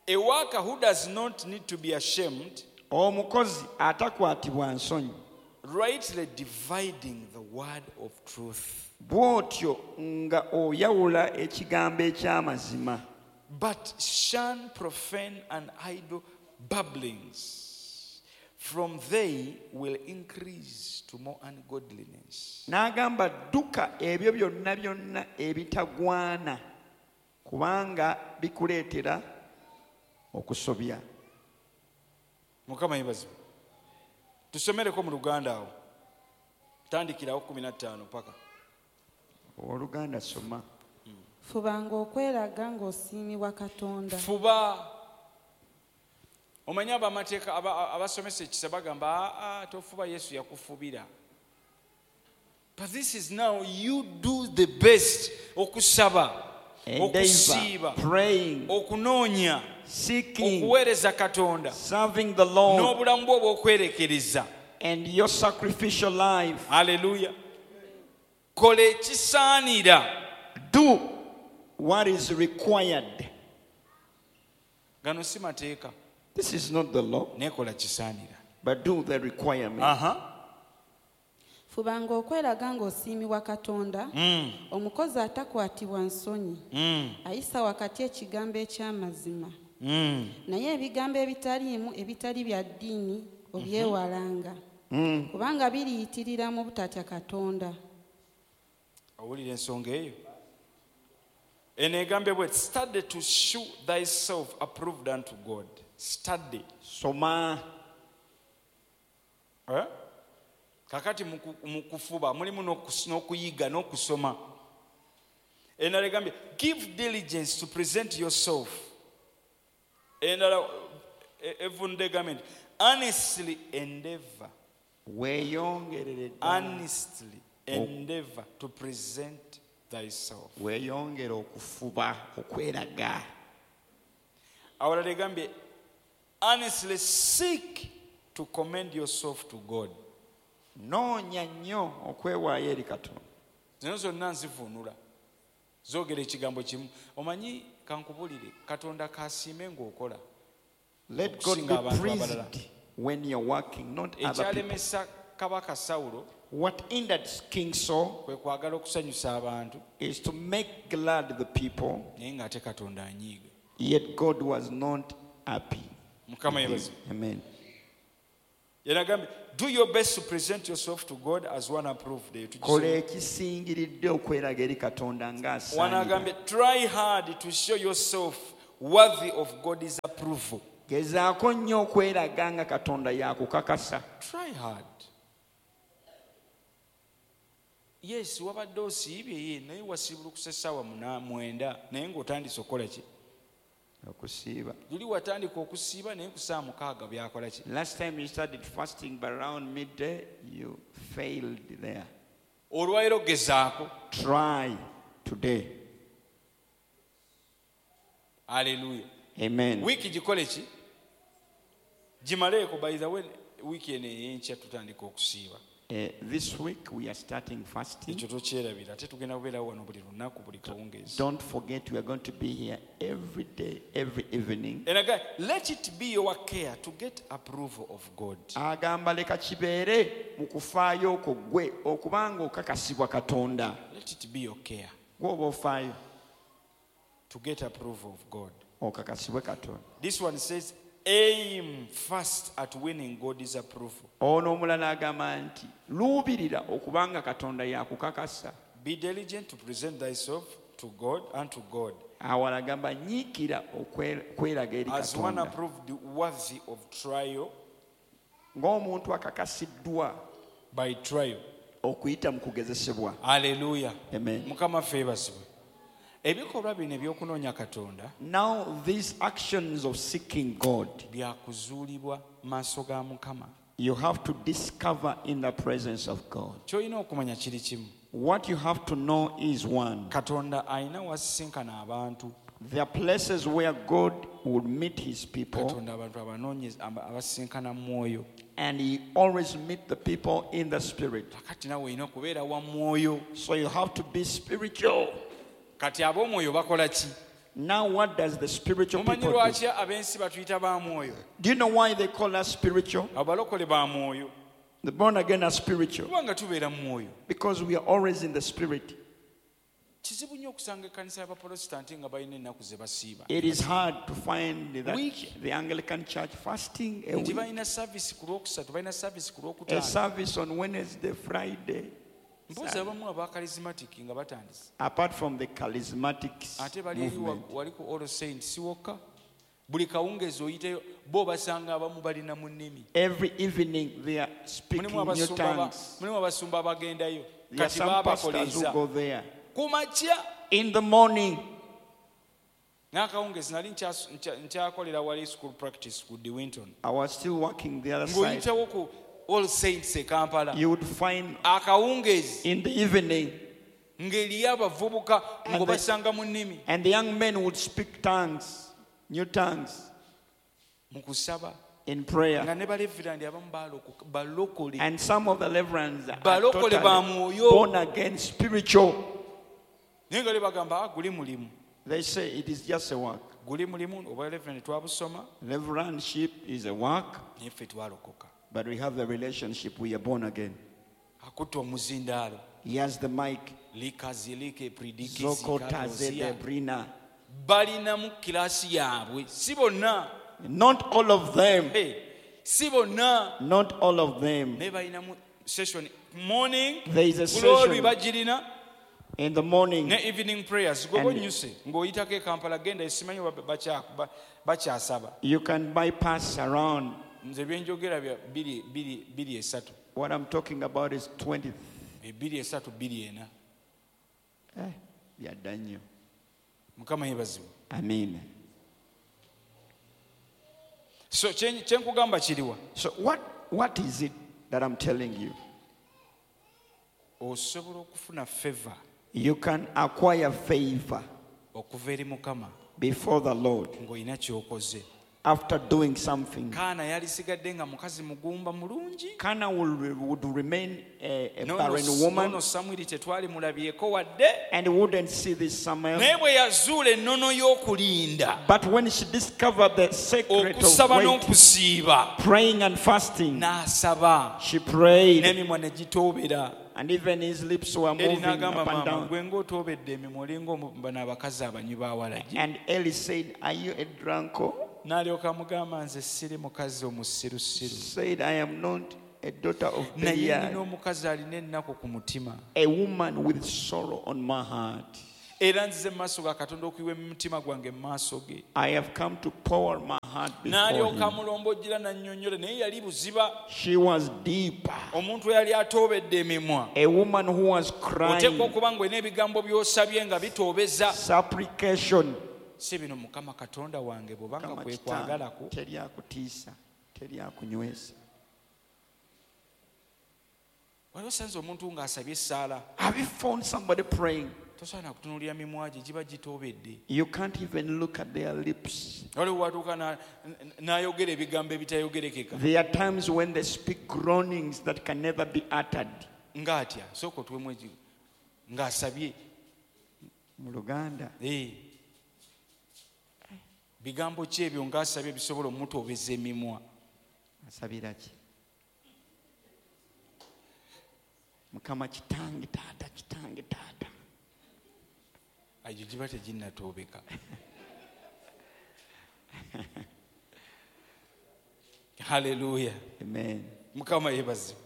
S1: A worker who does not need to be ashamed.
S2: Omukozi atakwatibwa nsonyi.
S1: Rightly dividing the word of truth.
S2: Bw'otyo nga oyawula ekigambo eky'amazima.
S1: But shun profane and idle babblings, from they will increase to more ungodliness.
S2: N'agamba dduka ebyo byonna byonna ebitagwana kubanga bikuleetera okusobya.
S1: Mukama yeebazibwe. Tusomereko mu Luganda awo. Tandikirawo kumi na ttaano paka.
S2: Oluganda soma.
S3: Fubanga okweraga ng'osiimibwa Katonda.
S1: Fuba. Omanyi abamateeka abasomesa ekisa bagamba aa tofuba Yesu yakufubira. But this is now you do the best okusaba, okusiiba,
S2: praying,
S1: okunoonya,
S2: seeking,
S1: okuweereza Katonda,
S2: serving the Lord,
S1: n'obulamu bwo obw'okwerekereza,
S2: and your sacrificial life.
S1: Hallelujah. Kola ekisaanira.
S2: Do what is required.
S1: Gano si mateeka.
S2: This is not the law.
S1: Nekola kisaanira.
S2: But do the requirement.
S1: Uh-huh.
S3: Fubanga okweraga ng'osiimibwa Katonda,
S1: mm.
S3: omukozi atakwatibwa nsonyi,
S1: mm.
S3: ayisa wakati ekigambo eky'amazima.
S1: Mm.
S3: Naye ebigambo ebitaliimu ebitali bya ddiini obyewalanga.
S2: Mm.
S3: Kubanga biriyitirira mu butatya Katonda.
S1: Owulira ensonga eyo? Eno egambye bw'eti, study to shew thyself approved unto God. Study.
S2: Soma.
S1: Eh? Kakati mu kufuba mulimu n'okuyiga n'okusoma. Endala egambye give diligence to present yourself. Endala evunde egambye nti earnestly endeavor.
S2: Weeyongerere ddala.
S1: Earnestly Endeavor to present thyself.
S2: Weeyongere okufuba okweraga.
S1: Awalala egambye earnestly seek to commend yourself to God.
S2: Noonya nnyo okwewaayo eri Katonda.
S1: Zino zonna nzivuunula zoogera ekigambo kimu. Omanyi kankubulire, Katonda kasiime ng'okola.
S2: Let God
S1: Okusinga
S2: be
S1: abantu abalala.
S2: pleased when you're working, not other people.
S1: Ekyalemesa Kabaka Sawulo
S2: What hindered King Saul
S1: kwe kwagala okusanyusa abantu
S2: is to make glad the people,
S1: naye ng'ate Katonda anyiiga.
S2: yet God was not happy.
S1: Mukama yeebazibwe.
S2: Amen.
S1: Yanagambye do your best to present yourself to God as one approved. Eyo tugisoma.
S2: Kola ekisingiridde okweraga eri Katonda ng'asaanira.
S1: Wanagambye try hard to show yourself worthy of God's approval.
S2: Gezaako nnyo okweraga nga Katonda yakukakasa.
S1: Try hard. Yes, wabadde osiibye ye naye wasiibulukusa essaawa muna- mwenda naye ng'otandise okukola ki?
S2: Okusiiba.
S1: Luli watandika okusiiba naye ku ssaawa mukaaga byakola ki?
S2: Last time you started fasting, but around midday you failed there.
S1: Olwaleero gezaako.
S2: Try today.
S1: Hallelujah.
S2: Amen.
S1: Wiiki gikole ki? Gimaleeko. By the way, wiiki eno ey'enkya tutandika okusiiba.
S2: Uh, this week we are starting fasting.
S1: Ekyo tokyerabira, ate tugenda kubeerawo wano buli lunaku buli kawungeezi.
S2: Don't forget we are going to be here every day, every evening.
S1: And again, let it be your care to get approval of God.
S2: Agamba leka kibeere mu kufaayo okwo ggwe okubanga okakasibwa Katonda.
S1: Let it be your care
S2: Ggwe oba ofaayo
S1: to get approval of God.
S2: okakasibwe Katonda.
S1: This one says, aim first at winning God's approval.
S2: Ono omulala agamba nti luubirira okubanga Katonda yakukakasa.
S1: Be diligent to present thyself to God and to God
S2: Awala agamba nyiikira okwe- okweraga eri
S1: as one
S2: Katonda
S1: approved worthy of trial
S2: ng'omuntu akakasiddwa
S1: by trial.
S2: okuyita mu kugezesebwa.
S1: Hallelujah.
S2: Amen.
S1: Mukama ffe yeebazibwe. Ebikolwa bino eby'okunoonya Katonda
S2: Now these actions of seeking God,
S1: byakuzuulibwa maaso ga Mukama.
S2: you have to discover in the presence of God.
S1: Ky'olina okumanya kiri kimu.
S2: What you have to know is one.
S1: Katonda alina wasisinkana abantu.
S2: There are places where God would meet his people,
S1: Katonda abantu abanoonyeza aba- abasisinkana mu mwoyo.
S2: and he always meet the people in the spirit.
S1: Kakati naawe olina okubeera wa mwoyo.
S2: So you have to be spiritual.
S1: Kati ab'omwoyo bakola ki?
S2: Now what does the spiritual
S1: Mumanyi
S2: people do?
S1: lwaki ab'ensi batuyita ba mwoyo?
S2: Do you know why they call us spiritual?
S1: Abalokole ba mwoyo.
S2: The born again are spiritual.
S1: Kubanga tubeera mu mwoyo.
S2: Because we are always in the spirit.
S1: Kizibu nnyo okusanga ekkanisa y'abaprotesitanti nga balina ennaku ze basiiba.
S2: It is hard to find that
S1: Week.
S2: the Anglican Church fasting a
S1: Nti
S2: week.
S1: balina service ku lwokusatu, balina service ku
S2: A
S1: lwokutaano.
S2: service on Wednesday, Friday,
S1: Mpozi abamu aba charismatic nga batandise.
S2: apart from the charismatics
S1: Ate bali eri wa-
S2: movement.
S1: wali ku All Saints si wokka. Buli kawungeezi oyitayo bo basanga abamu balina mu nnimi.
S2: Every evening they are speaking
S1: Mulimu
S2: new
S1: abasumba aba-
S2: tongues.
S1: mulimu abasumba abagendayo.
S2: There are
S1: Kati
S2: some pastors who
S1: baabakoleeza.
S2: go there.
S1: Ku makya
S2: In the morning,
S1: n'akawungeezi nali nkyasu- nkya- nkyakolera wali school practice ku DeWinton.
S2: I was still working the other side.
S1: Ng'oyitawo ku All Saints e Kampala.
S2: You would find
S1: Akawungeezi
S2: in the evening,
S1: ng'eriyo abavubuka
S2: And the-
S1: ng'obasanga mu nnimi.
S2: and the young men would speak tongues, new tongues,
S1: Mu kusaba.
S2: in prayer.
S1: Nga ne balevirandi abamu balokoka- balokole.
S2: And some of the reverends are
S1: Balokole ba
S2: totally
S1: mwoyo.
S2: born again, spiritual.
S1: Naye nga bagamba "Ah, guli mulimu.
S2: They say it is just a work.
S1: Guli mulimu oba reverend twabusoma
S2: Reverendship is a work,
S1: naye ffe twalokoka.
S2: but we have the relationship. We are born again.
S1: Akutte omuzindaalo.
S2: He has the mic.
S1: Likazilike predikisi
S2: Zokotaze
S1: katozia.
S2: debrina.
S1: Balinamu kiraasi yaabwe. Si bonna.
S2: Not all of them.
S1: Hey, si bonna.
S2: Not all of them.
S1: Naye balinamu session morning.
S2: There is a
S1: Glory
S2: session
S1: bagirina
S2: in the morning.
S1: ne evening prayers. Gwe
S2: And-
S1: onyuse ng'oyitako e Kampala genda esimanyi oba bakya- ba- bakyasaba.
S2: You can bypass around.
S1: Nze bye njogera bya bbiri bbiri bbiri esatu.
S2: What I'm talking about is twenty.
S1: Ebbiri esatu bbiri ena.
S2: Eh, byadda nnyo.
S1: Mukama yeebazibwe.
S2: Amen.
S1: So kye kye nkugamba kiriwa?
S2: So what, what is it that I'm telling you?
S1: Osobola okufuna favor
S2: You can acquire favor
S1: okuva eri Mukama
S2: before the Lord
S1: ng'olina ky'okoze.
S2: after doing something.
S1: Kaana yalisigadde nga mukazi mugumba mulungi.
S2: Cana will, would remain a, a
S1: N'ono-
S2: barren woman
S1: n'ono Samwiri tetwali mulabyeko wadde.
S2: and wouldn't see this Samuel.
S1: Naye bwe yazuula ennono y'okulinda,
S2: But when she discovered the secret of
S1: okusaba
S2: waiting,
S1: n'okusiiba,
S2: praying and fasting,
S1: n'asaba
S2: she prayed,
S1: n'emimwa ne gitoobera.
S2: and even his lips were
S1: Eri
S2: moving
S1: n'agamba
S2: up and
S1: maama
S2: down.
S1: gwe ng'otoobedde emimwa olinga omu- bano abakazi abanywi b'awalagi.
S2: And Eli said, Are you a drunko?
S1: N'alyoka amugamba nze siri mukazi omusirusiru.
S2: Said, I am not a daughter of
S1: Naye nina
S2: Belial,
S1: omukazi alina ennaku ku mutima.
S2: a woman with sorrow on my heart.
S1: Era nzize mu maaso ga Katonda okuyiwa emitima gwange mu maaso ge.
S2: I have come to pour my heart before
S1: N'alyoka
S2: him.
S1: amulombojjera n'annyonnyola naye yali buziba.
S2: She was deeper.
S1: Omuntu eyali atoobedde emimwa.
S2: A woman who was
S1: Oteekwa
S2: crying,
S1: okuba ng'olina ebigambo by'osabye nga bitoobeza.
S2: supplication.
S1: Si bino Mukama Katonda wange bw'obanga
S2: Mukama
S1: kwe
S2: kitange,
S1: kwagalako.
S2: teri akutiisa, teri akunyweza.
S1: Wali osanze omuntu ng'asabye essaala.
S2: Have you found somebody praying?
S1: Tosobola na kutunuulira mimwa gye giba gitoobedde.
S2: You can't even look at their lips.
S1: Waliwo watuuka na- n'ayogera ebigambo ebitayogerekeka.
S2: There are times when they speak groanings that can never be uttered.
S1: Ng'atya sooka otuwemu egi ng'asabye.
S2: Mu Luganda.
S1: Eh. Bigambo ki ebyo ng'asabye bisobola omutoobeza emimwa?
S2: Asabira ki? Mukama kitange taata kitange taata.
S1: Egyo giba teginnatoobeka. Hallelujah.
S2: Amen.
S1: Mukama yeebazibwe.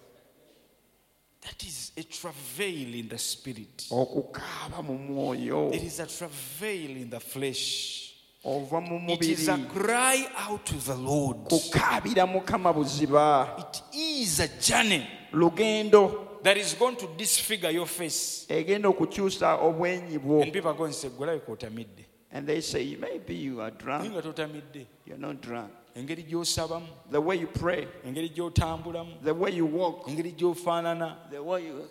S1: That is a travail in the spirit.
S2: Okukaaba mu mwoyo
S1: It is a travail in the flesh.
S2: ova mu
S1: It is a
S2: mubiri
S1: cry out to the Lord.
S2: kukaabira Mukama buziba
S1: It is a journey
S2: lugendo
S1: that is going to disfigure your face.
S2: egenda okukyusa obwenyi bwo.
S1: And people are going to say, "Gwe olabika otamidde."
S2: And they say maybe you are
S1: Naye
S2: drunk.
S1: nga totamidde.
S2: You're not drunk.
S1: Engeri gy'osabamu,
S2: The way you pray,
S1: engeri gy'otambulamu,
S2: the way you walk,
S1: engeri gy'ofaanana.
S2: the way you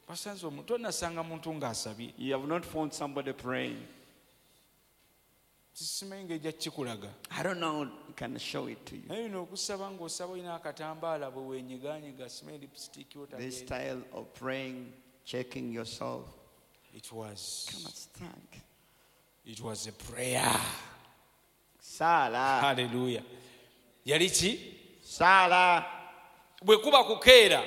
S1: Basanze omuntu tonnasanga muntu ng'asabye.
S2: you have not found somebody praying.
S1: Simanyi ngeri gya kikulaga.
S2: I don't know how I can show it to you.
S1: Naye bino okusaba ng'osaba olina akatambaala bwe weenyigaanyiga simanyi lipstick
S2: This
S1: otageera.
S2: style of praying, checking yourself.
S1: It was,
S2: Come and stand.
S1: it was a prayer.
S2: Sala.
S1: Hallelujah. Yali ki?
S2: Sala.
S1: Bwe kuba kukeera,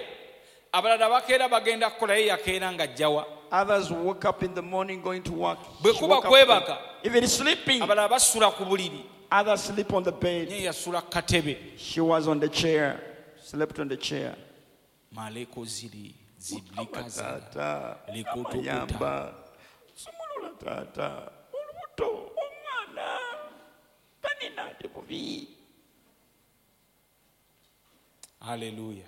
S1: abalala bakeera bagenda kukola ye yakeera ng'ajjawa.
S2: Others woke up in the morning going to work.
S1: Bwe
S2: She
S1: kuba
S2: woke up-
S1: kwebaka.
S2: Even sleeping.
S1: Abalala basula ku buliri,
S2: Others sleep on the bed.
S1: naye yasula ku katebe.
S2: She was on the chair. Slept on the chair.
S1: Maleko ziri ziblika zala.
S2: Taata.
S1: Likutukuta.
S2: Yamba. Sumulula taata. Olubuto. Omwana. Tanina ate bubi.
S1: Hallelujah.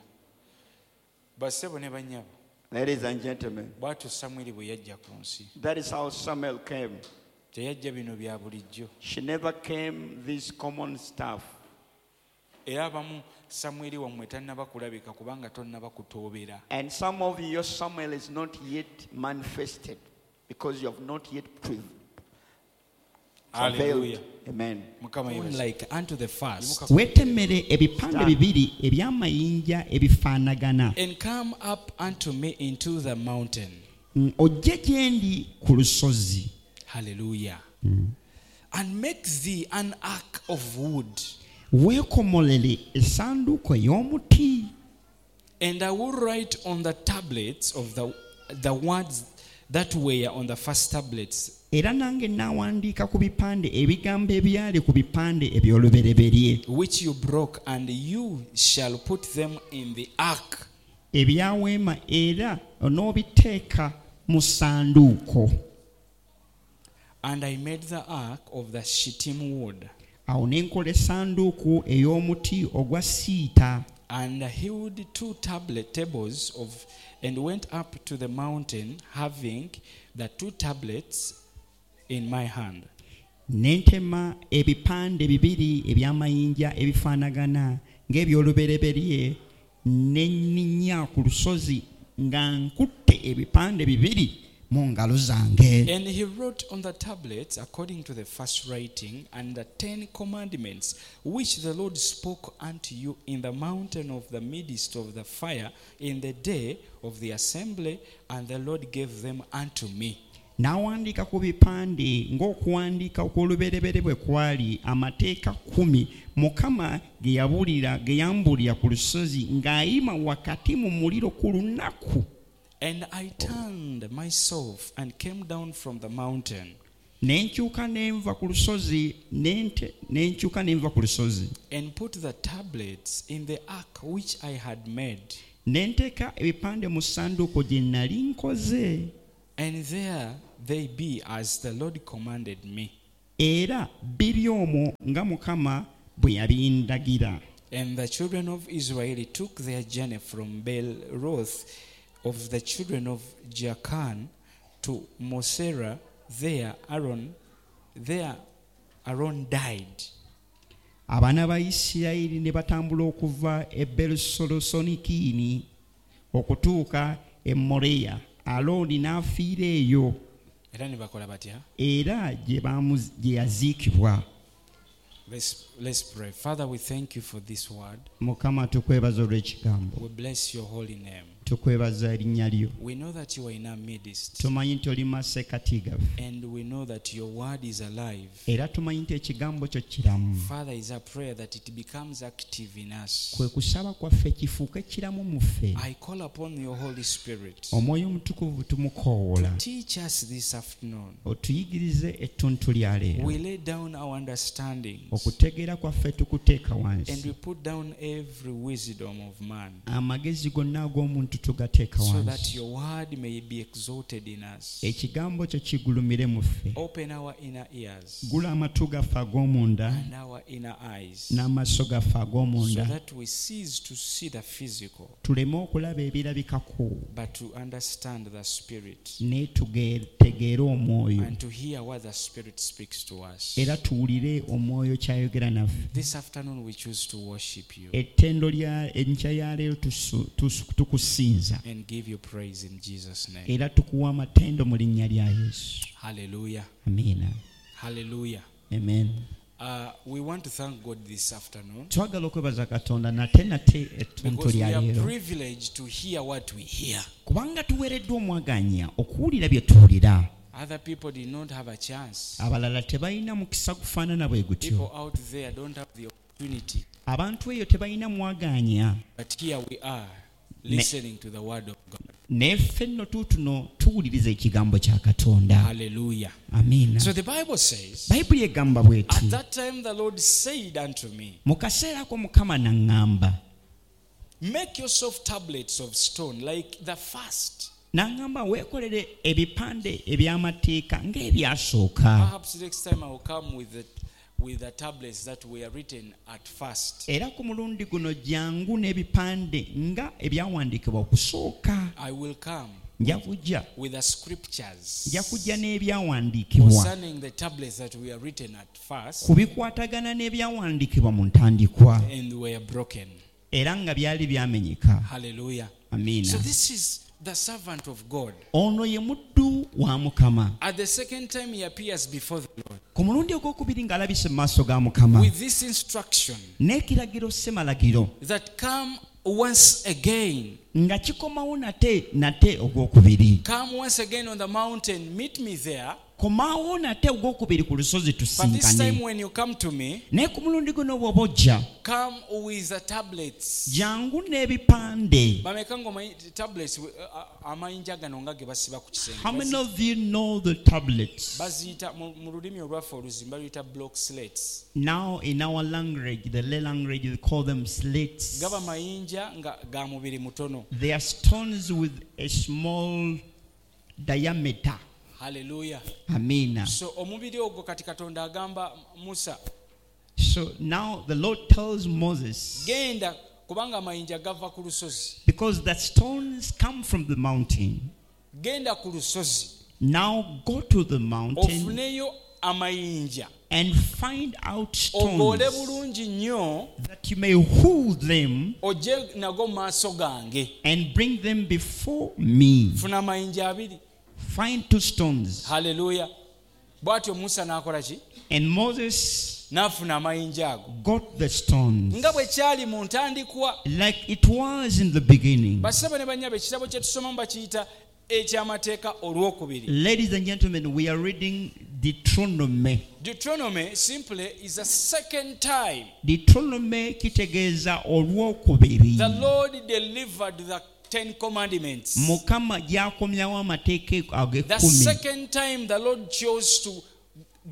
S1: Bassebo ne bannyabo,
S2: Ladies and gentlemen,
S1: bw'atyo Samwiri bwe yajja ku nsi.
S2: that is how Samuel came.
S1: Teyajja bino bya bulijjo.
S2: She never came this common stuff.
S1: Era abamu Samwiri wammwe tannaba kulabika kubanga tonnaba kutoobera.
S2: And some of you, your Samuel is not yet manifested because you have not yet pre-
S1: Hallelujah.
S2: travailed. Amen.
S1: Mukama yeebazibwe. Like unto the first.
S4: Weetemere ebipande bibiri eby'amayinja ebifaanagana
S1: And come up unto me into the mountain.
S4: Mm, ojje gye ndi ku lusozi
S1: Hallelujah. And make thee an ark of wood.
S4: Weekomolere essanduuko ey'omuti
S1: And I will write on the tablets of the, the words that were on the first tablets,
S4: era nange naawandiika ku bipande ebigambo ebyali ku bipande eby'olubereberye
S1: which you broke, and you shall put them in the ark.
S4: Ebya weema era n'obiteeka mu ssanduuko
S1: And I made the ark of the shittim wood,
S4: awo ne nkola essanduuku ey'omuti ogwa siita
S1: and hewed two tablet tables of, and went up to the mountain, having the two tablets in my hand.
S4: Ne ntema ebipande bibiri eby'amayinja ebifaanagana ng'eby'olubereberye ne nninnya ku lusozi nga nkutte ebipande bibiri mu ngalo zange.
S1: And he wrote on the tablets according to the first writing and the ten commandments which the Lord spoke unto you in the mountain of the midst of the fire in the day of the assembly, and the Lord gave them unto me.
S4: N'awandiika ku bipande ng'okuwandiika okw'olubereberye bwe kwali amateeka kkumi mukama ge yabuulira ge yambuulira ku lusozi ng'ayima wakati mu muliro ku lunaku.
S1: And I turned myself and came down from the mountain
S4: Ne nkyuka ne nva ku lusozi ne nte- ne nkyuka ne nva ku lusozi
S1: and put the tablets in the ark which I had made.
S4: Ne nteeka ebipande mu ssanduuko gye nali nkoze.
S1: And there they be as the Lord commanded me.
S4: Era biri omwo nga mukama bwe yabindagira.
S1: And the children of Israel took their journey from Beeroth of the children of Jaakan to Mosera. There Aaron, there Aaron died.
S4: Abaana ba Isirayiri ne batambula okuva e Berusolosonikiini okutuuka e Moreya. Alooni n'afiira eyo
S1: Era ne bakola batya?
S4: era gye bamu- gye yaziikibwa.
S1: Let's, let's pray. Father, we thank you for this word.
S4: Mukama tukwebaza olw'ekigambo.
S1: We bless your holy name.
S4: Tukwebaza erinnya lyo.
S1: We know that you are in our midst.
S4: Tumanyi nti oli masekkati gaffe.
S1: And we know that your word is alive.
S4: Era tumanyi nti ekigambo kyo kiramu.
S1: Father, is our prayer that it becomes active in us.
S4: Kwe kusaba kwaffe kifuuke kiramu mu ffe.
S1: I call upon your Holy Spirit.
S4: Omwoyo Omutukuvu tumukoowoola.
S1: Teach us this afternoon.
S4: Otuyigirize ettuntu lya leero.
S1: We lay down our understandings
S4: Okutegeera kwaffe tukuteeka
S1: and
S4: wansi.
S1: we put down every wisdom of man
S4: Amagezi gonna ag'omuntu tugateeka
S1: so that
S4: wansi.
S1: your word may be exalted in us.
S4: Ekigambo kyo kigulumire mu ffe.
S1: Open our inner ears
S4: Gula amatu gaffe ag'omunda
S1: and our inner eyes
S4: n'amaaso gaffe
S1: so
S4: ag'omunda
S1: that we cease to see the physical
S4: tuleme okulaba ebirabikako
S1: but to understand the spirit
S4: naye tugetegeere omwoyo
S1: and to hear what the spirit speaks to us.
S4: era tuwulire omwoyo kyayogera naffe.
S1: This afternoon we choose to worship you
S4: Ettendo lya enkya ya leero tusu- tusu- tukusinza
S1: and give you praise in Jesus' name.
S4: era tukuwa amatendo mu linnya lya Yesu.
S1: Hallelujah.
S4: Amiina.
S1: Hallelujah.
S4: Amen.
S1: Uh, we want to thank God this afternoon
S4: Twagala okwebaza Katonda nate nate ettuntu
S1: because we
S4: lya
S1: are
S4: leero
S1: privileged to hear what we hear.
S4: kubanga tuweereddwa omwaganya okuwulira bye tuwulira.
S1: Other people did not have a chance.
S4: Abalala tebalina mukisa gufaanana bwe gutyo.
S1: People out there don't have the opportunity.
S4: Abantu eyo tebalina mwaganya.
S1: But here we are listening to the word of God.
S4: Naye ffe nno tuutuno tuwuliriza ekigambo kya Katonda.
S1: Hallelujah.
S4: Amiina.
S1: So the Bible says,
S4: Bayibuli egamba bw'eti.
S1: At that time the Lord said unto me,
S4: Mu kaseera ako Mukama n'aŋŋamba.
S1: Make yourself tablets of stone like the first.
S4: N'aŋŋamba weekolere ebipande eby'amateeka ng'ebyasooka.
S1: Perhaps next time I will come with the, with the tablets that were written at first.
S4: Era ku mulundi guno jangu n'ebipande nga ebyawandiikibwa okusooka.
S1: I will come
S4: Nja kujja.
S1: with the scriptures
S4: Nja kujja n'ebyawandiikibwa
S1: concerning the tablets that were written at first
S4: ku bikwatagana n'ebyawandiikibwa mu ntandikwa
S1: and were broken.
S4: era nga byali byamenyeka.
S1: Hallelujah.
S4: Amiina.
S1: So this is the servant of God.
S4: Ono ye muddu wa Mukama.
S1: At the second time he appears before the Lord
S4: Ku mulundi ogwokubiri ng'alabise mu maaso ga Mukama
S1: with this instruction
S4: n'ekiragiro ssemalagiro
S1: that come once again,
S4: nga kikomawo nate nate ogwokubiri.
S1: come once again on the mountain, meet me there.
S4: Komawo nate ogwokubiri ku lusozi
S1: But this time
S4: tusinkane.
S1: when you come to me,
S4: Naye ku mulundi guno bw'oba ojja
S1: come with the tablets.
S4: jangu n'ebipande.
S1: Bameka ng'omanyi tablets uh, uh, amayinja gano nga ge basiba ku kisenge.
S4: How many of you know the tablets?
S1: Baziyita mu mu lulimi olwaffe oluzimba baluyita block slates.
S4: Now in our language, the lay language, we call them slates.
S1: Gaba mayinja nga ga mubiri mutono.
S4: They are stones with a small diameter.
S1: Hallelujah.
S4: Amina.
S1: So omubiri ogwo kati Katonda agamba Musa
S4: So now the Lord tells Moses,
S1: genda kubanga amayinja gava ku lusozi.
S4: because the stones come from the mountain.
S1: Genda ku lusozi
S4: Now go to the mountain
S1: ofuneyo amayinja
S4: And find out
S1: ogoole
S4: stones
S1: bulungi nnyo
S4: that you may hold them
S1: ojje nago mu maaso gange
S4: and bring them before me.
S1: funa amayinja abiri
S4: Find two stones.
S1: haleluya bw'atyo musa n'akola ki
S4: And Moses
S1: n'afuna amayinja ago
S4: got the stones
S1: nga bwe kyali mu ntandikwa
S4: like it was in the beginning.
S1: bassebo ne bannyabo ekitabo kye tusomamu bakiyita ekyamateeka olwokubiri
S4: Ladies and gentlemen, we are reading Deuteronomy.
S1: deuteronomy simply is a second time
S4: Deuteronomy kitegeeza olwokubiri.
S1: the lord delivered the ten commandments
S4: Mukama gy'akomyawo amateeka
S1: the
S4: ag'ekkumi.
S1: second time the lord chose to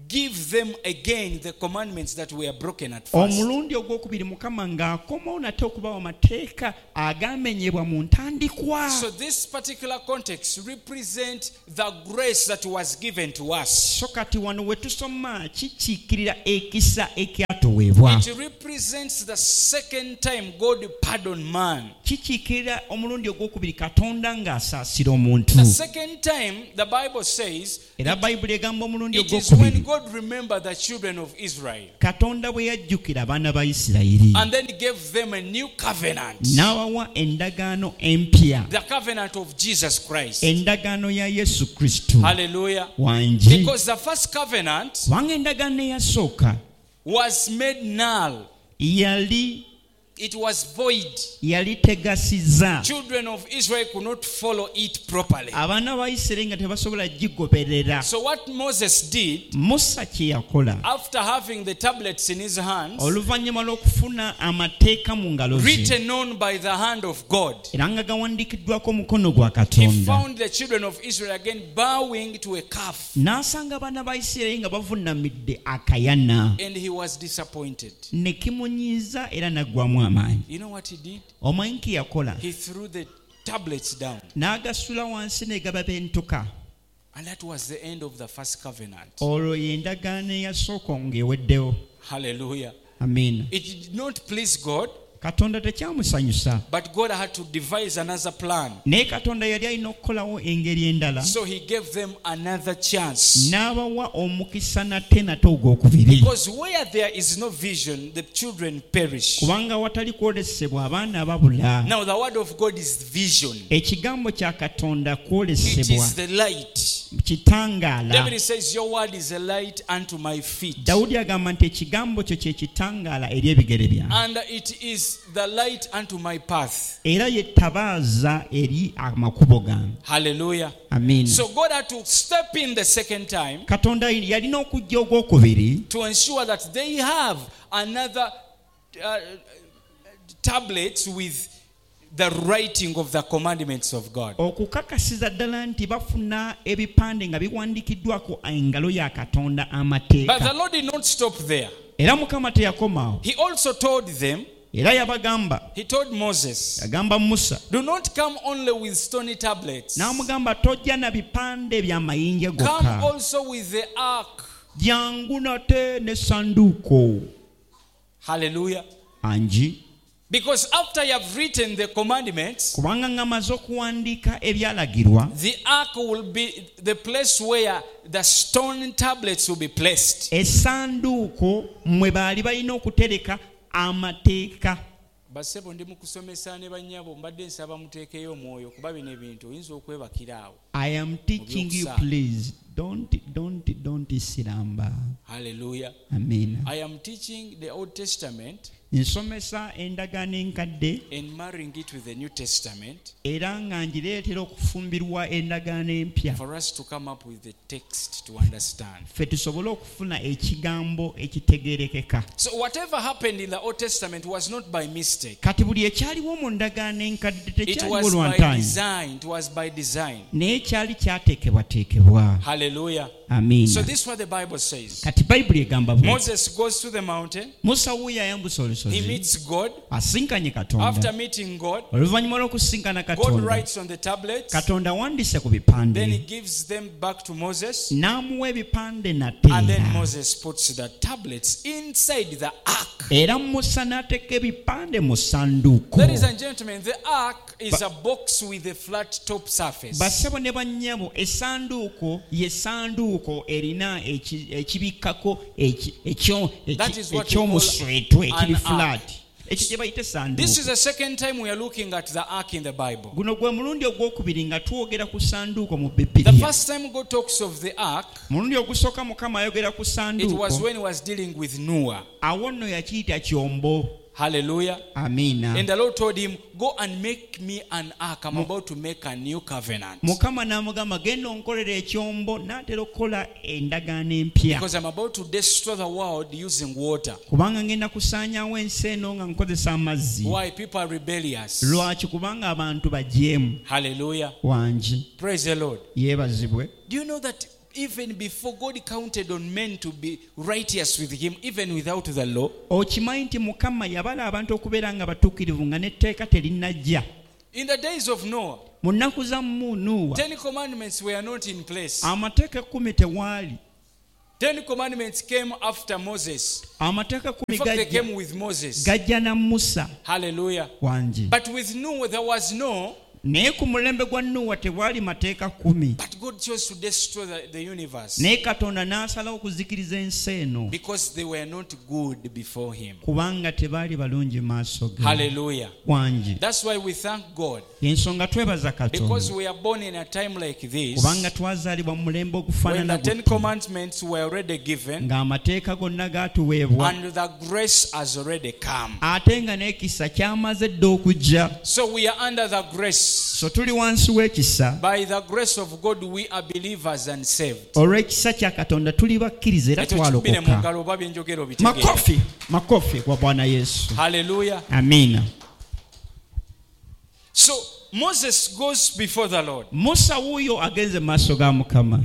S1: give them again the commandments that were broken at first
S4: Omulundi ogwokubiri Mukama ng'akomawo nate okubawa amateeka agamenyebwa mu ntandikwa.
S1: so this particular context represents the grace that was given to us
S4: So kati wano we tusoma kikiikirira ekisa ekyatuweebwa.
S1: it represents the second time god pardoned man
S4: Kikiikirira omulundi ogwokubiri Katonda ng'asaasira omuntu.
S1: the second time the bible says
S4: Era Bayibuli egamba omulundi
S1: it is when
S4: ogwokubiri
S1: god remembered the children of israel
S4: Katonda bwe yajjukira abaana ba Isirayiri
S1: and then gave them a new covenant
S4: n'abawa endagaano empya
S1: the covenant of jesus christ
S4: endagaano ya Yesu Kristo
S1: hallelujah
S4: wangi
S1: because the first covenant
S4: kubanga endagaano eyasooka
S1: was made null
S4: yali
S1: it was void
S4: yali tegasiza
S1: children of israel could not follow it properly
S4: abaana ba Isirayiri nga tebasobola gigoberera
S1: so what moses did
S4: Musa kye yakola
S1: after having the tablets in his hands
S4: oluvannyuma lw'okufuna amateeka mu ngalo ze
S1: written on by the hand of god
S4: era nga gawandiikiddwako omukono gwa
S1: he
S4: Katonda
S1: found the children of israel again bowing to a calf
S4: n'asanga abaana ba Isirayiri nga bavunnamidde akayana
S1: and he was disappointed
S4: ne kimunyiiza era n'aggwamu amaanyi
S1: you know what he did
S4: omanyi ke yakola
S1: he threw the tablets down
S4: n'agasula wansi ne gababentuka
S1: and that was the end of the first covenant
S4: olwo y'endagaano eyasooka ng'eweddewo
S1: hallelujah
S4: amiina
S1: it did not please god
S4: katonda tekyamusanyusa
S1: but god had to devise another plan
S4: naye katonda yali alina okukolawo engeri endala
S1: so he gave them another chance
S4: n'abawa omukisa nate nate ogwokubiri
S1: because where there is no vision the children perish
S4: kubanga watali kwolesebwa abaana babula
S1: now the word of god is vision
S4: ekigambo kya katonda
S1: it
S4: kwolesebwa
S1: is the light
S4: kitangaala
S1: david says your word is a light unto my feet
S4: dawudi agamba nti ekigambo kyo kye kitangaala eri ebigere byange
S1: and it is the light unto my path
S4: era ye ttabaaza eri amakubo gange
S1: hallelujah
S4: amiina
S1: so god had to step in the second time
S4: katonda yalina okujja ogwokubiri
S1: to ensure that they have another uh, tablets with the writing of the commandments of God.
S4: okukakasiza ddala nti bafuna ebipande nga biwandiikiddwako engalo ya katonda
S1: But the
S4: amateeka
S1: Lord did not stop there.
S4: era mukama teyakomaawo
S1: He also told them,
S4: era yabagamba
S1: He told Moses,
S4: yagamba musa
S1: do not come only with stony tablets,
S4: n'amugamba tojja na bipande bya mayinja
S1: come
S4: gokka
S1: also with the ark.
S4: jangu nate ne sanduuko
S1: Hallelujah.
S4: angi
S1: Because after you have written the commandments,
S4: kubanga ng'amaze okuwandiika ebyalagirwa
S1: the ark will be the place where the stone tablets will be placed.
S4: essanduuko mwe baali balina okutereka amateeka
S1: bassebo ndi mu kusomesa ne bannyabo mbadde nsaba muteekeyo omwoyo kuba bino ebintu oyinza okwebakira awo
S4: i am teaching you
S1: Oby'okusaala.
S4: please don't don't don't siramba
S1: haleluya
S4: amiina
S1: i am teaching the old testament
S4: nsomesa endagaano enkadde
S1: and marrying it with the new testament
S4: era nga ngireetera okufumbirwa endagaano empya
S1: for us to come up with the text to understand
S4: ffe tusobole okufuna ekigambo ekitegeerekeka
S1: so whatever happened in the old testament was not by mistake
S4: kati buli ekyaliwo mu ndagaano enkadde
S1: it
S4: tekyaliwo
S1: was
S4: lwa
S1: by
S4: ntaanyi
S1: design it was by design
S4: naye kyali kyateekebwateekebwa
S1: hallelujah so
S4: amiina
S1: this is what the bible says
S4: kati bayibuli egamba bw'eti.
S1: moses goes to the mountain
S4: musa wuuyo ayambusa
S1: he
S4: olusozi
S1: meets god
S4: asinkanye
S1: after
S4: katonda
S1: meeting god
S4: oluvannyuma lw'okusinkana
S1: god
S4: katonda
S1: writes on the tablets
S4: katonda awandiise ku
S1: Then he
S4: bipande
S1: gives them back to Moses.
S4: n'amuwa ebipande nate
S1: And then
S4: era.
S1: Moses puts the tablets inside the ark.
S4: era musa n'ateeka ebipande mu ssanduuko
S1: Ladies and gentlemen, the ark is a box with a flat top surface.
S4: bassebo ne bannyabo essanduuko ye ssanduuko Essanduuko erina eki- ekibikkako eki- ekyo- eki-
S1: That is what we call
S4: ekyomusweto ekiri
S1: an ark.
S4: flat ekyo kye bayita
S1: This is
S4: essanduuko
S1: the second time we are looking at the ark in the Bible.
S4: Guno gwe mulundi ogwokubiri nga twogera ku ssanduuko mu
S1: The
S4: Bibiliya.
S1: first time God talks of the ark,
S4: Mulundi ogusooka Mukama ayogera ku
S1: it was
S4: ssanduuko
S1: when he was dealing with Noah.
S4: Awo nno yakiyita kyombo.
S1: Hallelujah.
S4: Amiina.
S1: And the Lord told him, "Go and make me an ark. I'm about to make a new covenant."
S4: Mukama n'amugamba genda onkolera ekyombo n'atera okukola endagaano empya.
S1: Because I'm about to destroy the world using water.
S4: Kubanga ngenda kusaanyaawo ensi eno nga nkozesa amazzi.
S1: Why? People are rebellious.
S4: Lwaki? Kubanga abantu bajeemu.
S1: Hallelujah.
S4: Wangi.
S1: Praise the Lord.
S4: Yeebazibwe.
S1: Do you know that even before God counted on men to be righteous with him, even without the law,
S4: Okimanyi nti Mukama yabala abantu okubeera nga batuukirivu nga n'etteeka terinnajja.
S1: In the days of Noah,
S4: Mu nnaku za mu Nuuwa,
S1: Ten Commandments were not in place.
S4: Amateeka ekkumi tewaali.
S1: Ten Commandments came after Moses.
S4: Amateeka
S1: In
S4: ekkumi
S1: fact, they
S4: gajja
S1: came with Moses.
S4: Gajja na Musa.
S1: Hallelujah.
S4: Wangi.
S1: But with Noah, there was no,
S4: Naye ku mulembe gwa Nuuwa tewaali mateeka kumi.
S1: But God chose to destroy the, the universe
S4: Naye Katonda n'asalawo okuzikiriza ensi eno
S1: because they were not good before him.
S4: Kubanga tebaali balungi mu maaso ge.
S1: Hallelujah.
S4: Wangi.
S1: That's why we thank God,
S4: Ensonga twebaza
S1: because
S4: Katonda
S1: we are born in a time like this
S4: kubanga twazaalibwa mu mulembe
S1: when
S4: ogufaanana
S1: the Ten
S4: guti
S1: Commandments were already given
S4: ng'amateeka gonna gaatuweebwa
S1: and the grace has already come.
S4: Ate nga n'ekisa kyamaze dda okujja.
S1: So we are under the grace.
S4: So tuli wansi w'ekisa.
S1: By the grace of God, we are believers and saved.
S4: Olw'ekisa kya Katonda tuli bakkiriza era
S1: Ekyo kikubire mu
S4: twalokoka.
S1: ngalo oba bye njogera obitegeera.
S4: Makofi, makofi kwa Bwana Yesu.
S1: Hallelujah.
S4: Amiina.
S1: So Moses goes before the Lord.
S4: Musa wuuyo agenze mu maaso ga Mukama.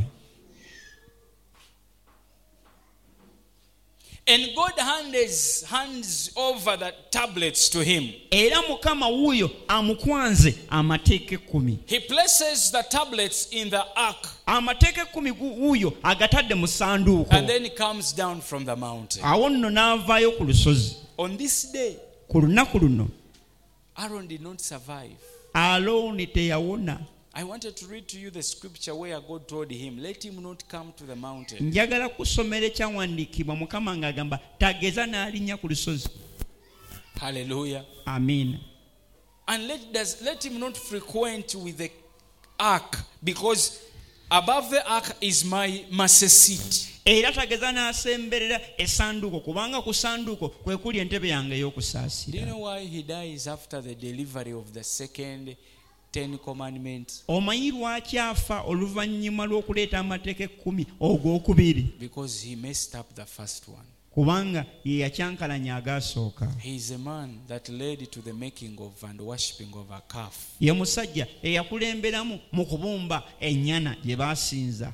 S1: And God hands, hands over the tablets to him.
S4: Era Mukama wuuyo amukwanze amateeka ekkumi.
S1: He places the tablets in the ark
S4: Amateeka ekkumi gu- wuuyo agatadde mu ssanduuko.
S1: And then he comes down from the mountain.
S4: Awo nno n'avaayo ku lusozi.
S1: On this day,
S4: Ku lunaku luno,
S1: Aaron did not survive.
S4: Alooni teyawona.
S1: I wanted to read to you the scripture where God told him, "Let him not come to the mountain."
S4: Njagala kusomera ekyawandiikibwa Mukama ng'agamba tageza n'alinnya ku lusozi.
S1: Hallelujah.
S4: Amiina.
S1: And let, does, let him not frequent with the ark, because above the ark is my mercy seat.
S4: Era tageza n'asemberera essanduuko kubanga ku ssanduuko kwe kuli entebe yange
S1: Do you
S4: ey'okusaasira.
S1: know why he dies after the delivery of the second Ten Commandments?
S4: Omanyi lwaki afa oluvannyuma lw'okuleeta amateeka ekkumi ogwokubiri?
S1: Because he messed up the first one.
S4: Kubanga ye yakyankalanya agaasooka.
S1: He is a man that led to the making of and worshipping of a calf.
S4: Ye musajja eyakulemberamu mu kubumba ennyana gye baasinza.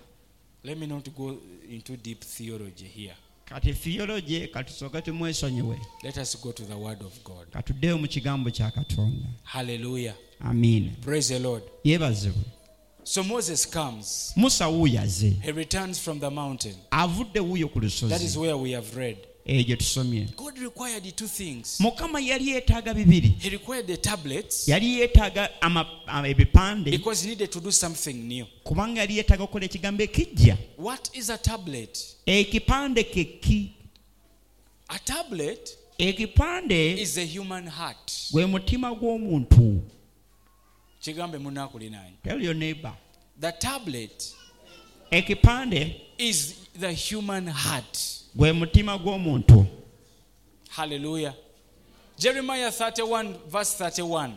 S1: Let me not go into deep theology here.
S4: Kati theology katusooke tumwesonyiwe.
S1: Let us go to the Word of God.
S4: Katuddeyo mu kigambo kya Katonda.
S1: Hallelujah.
S4: Amiina.
S1: Praise the Lord.
S4: Yeebazibwe.
S1: So Moses comes.
S4: Musa wuuyo aze.
S1: He returns from the mountain.
S4: Avudde wuuyo ku
S1: That is
S4: lusozi
S1: where we have read.
S4: Eyo gye tusomye.
S1: God required two things.
S4: Mukama yali yeetaaga bibiri.
S1: He required the tablets
S4: Yali yeetaaga ama- ama- ebipande
S1: because he needed to do something new.
S4: kubanga yali yeetaaga okukola ekigambo ekijja.
S1: What is a tablet?
S4: Ekipande keki?
S1: A tablet
S4: Ekipande
S1: is a human heart.
S4: gwe mutima gw'omuntu.
S1: Kigambe munaakulinaanye.
S4: Tell your neighbor.
S1: The tablet
S4: Ekipande
S1: is the human heart.
S4: Gwe mutima gw'omuntu.
S1: Hallelujah. Jeremiah thirty-one, verse thirty-one.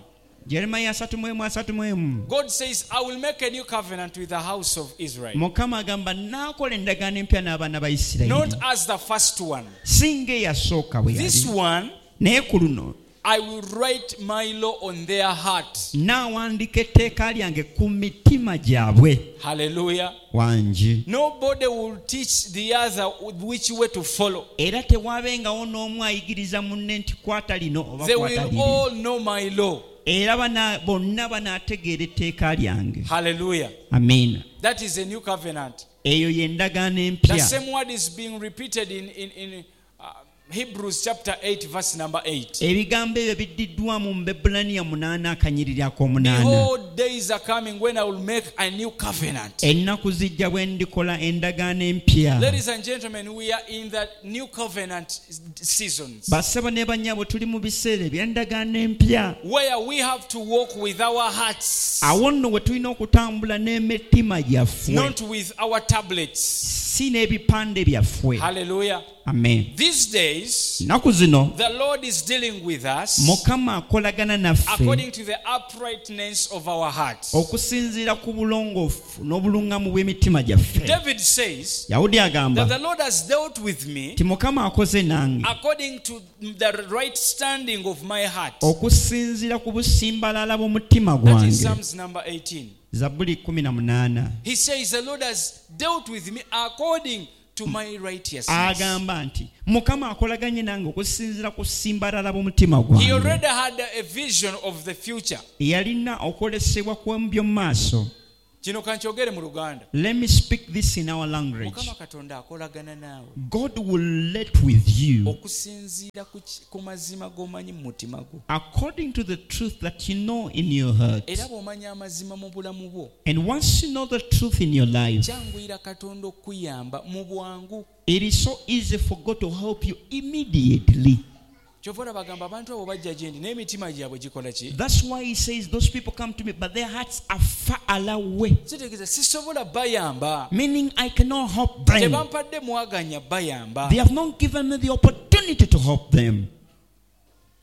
S4: Jeremiya asatu mu emu asatu mu emu.
S1: God says, "I will make a new covenant with the house of Israel."
S4: Mukama agamba naakola endagaano empya n'abaana ba Isirayiri.
S1: Not as the first one.
S4: Si ng'eyasooka bwe
S1: This
S4: yali.
S1: one,
S4: Naye ku luno
S1: I will write my law on their heart.
S4: Naawandiika etteeka lyange ku mitima gyabwe.
S1: Hallelujah.
S4: Wangi.
S1: Nobody will teach the other which way to follow.
S4: Era tewaabengawo n'omu ayigiriza munne nti kwata lino oba
S1: They
S4: kwata
S1: will
S4: liri.
S1: all know my law.
S4: Era bana- bonna banaategeera etteeka lyange.
S1: Hallelujah.
S4: Amiina.
S1: That is a new covenant.
S4: Eyo y'endagaano
S1: The
S4: empya.
S1: same word is being repeated in, in, in uh, Hebrews chapter eight, verse number eight.
S4: Ebigambo ebyo biddiddwamu mu Baebbulaniya munaana akanyiriri ak'omunaana.
S1: Behold, days are coming when I will make a new covenant.
S4: Ennaku zijja bwe ndikola endagaano empya.
S1: Ladies and gentlemen, we are in the new covenant seasons.
S4: Bassebo ne bannyabo tuli mu biseera eby'endagaano empya.
S1: Where we have to walk with our hearts.
S4: Awo nno we tulina okutambula n'emitima gyaffe.
S1: Not with our tablets.
S4: Si n'ebipande byaffe.
S1: Hallelujah.
S4: Amen.
S1: These days,
S4: Nnaku zino,
S1: the Lord is dealing with us
S4: Mukama akolagana naffe
S1: according to the uprightness of our hearts.
S4: Okusinziira ku bulongoofu n'obulungamu bw'emitima gyaffe.
S1: David says
S4: Dawudi
S1: that
S4: agamba
S1: the Lord has dealt with me
S4: nti Mukama akoze nange
S1: according to the right standing of my heart.
S4: Okusinziira ku busimbalala bw'omutima
S1: That is
S4: gwange.
S1: Psalms number eighteen.
S4: Zabbuli kkumi na munaana.
S1: He says the Lord has dealt with me according to my righteousness.
S4: Agamba nti Mukama akolaganye nange okusinziira ku simbalala bw'omutima
S1: He
S4: gwange.
S1: already had a vision of the future.
S4: Yalina okwolesebwa kw'eby'omu maaso.
S1: Kino kankyogere mu Luganda.
S4: Let me speak this in our language.
S1: Mukama Katonda akolagana naawe
S4: God will let with you
S1: okusinziira ku ki- ku mazima g'omanyi mu mutima gwo.
S4: According to the truth that you know in your heart.
S1: Era bw'omanya amazima mu bulamu bwo,
S4: And once you know the truth in your life,
S1: kyanguyira Katonda okukuyamba mu bwangu.
S4: It is so easy for God to help you immediately.
S1: Kyova olaba agamba abantu abo bajja gye ndi n'emitima gyabwe gikola ki?
S4: That's why he says those people come to me, but their hearts are far away.
S1: Kitegeeza sisobola bayamba.
S4: Meaning I cannot help them.
S1: Tebampadde mwaganya bayamba.
S4: They have not given me the opportunity to help them.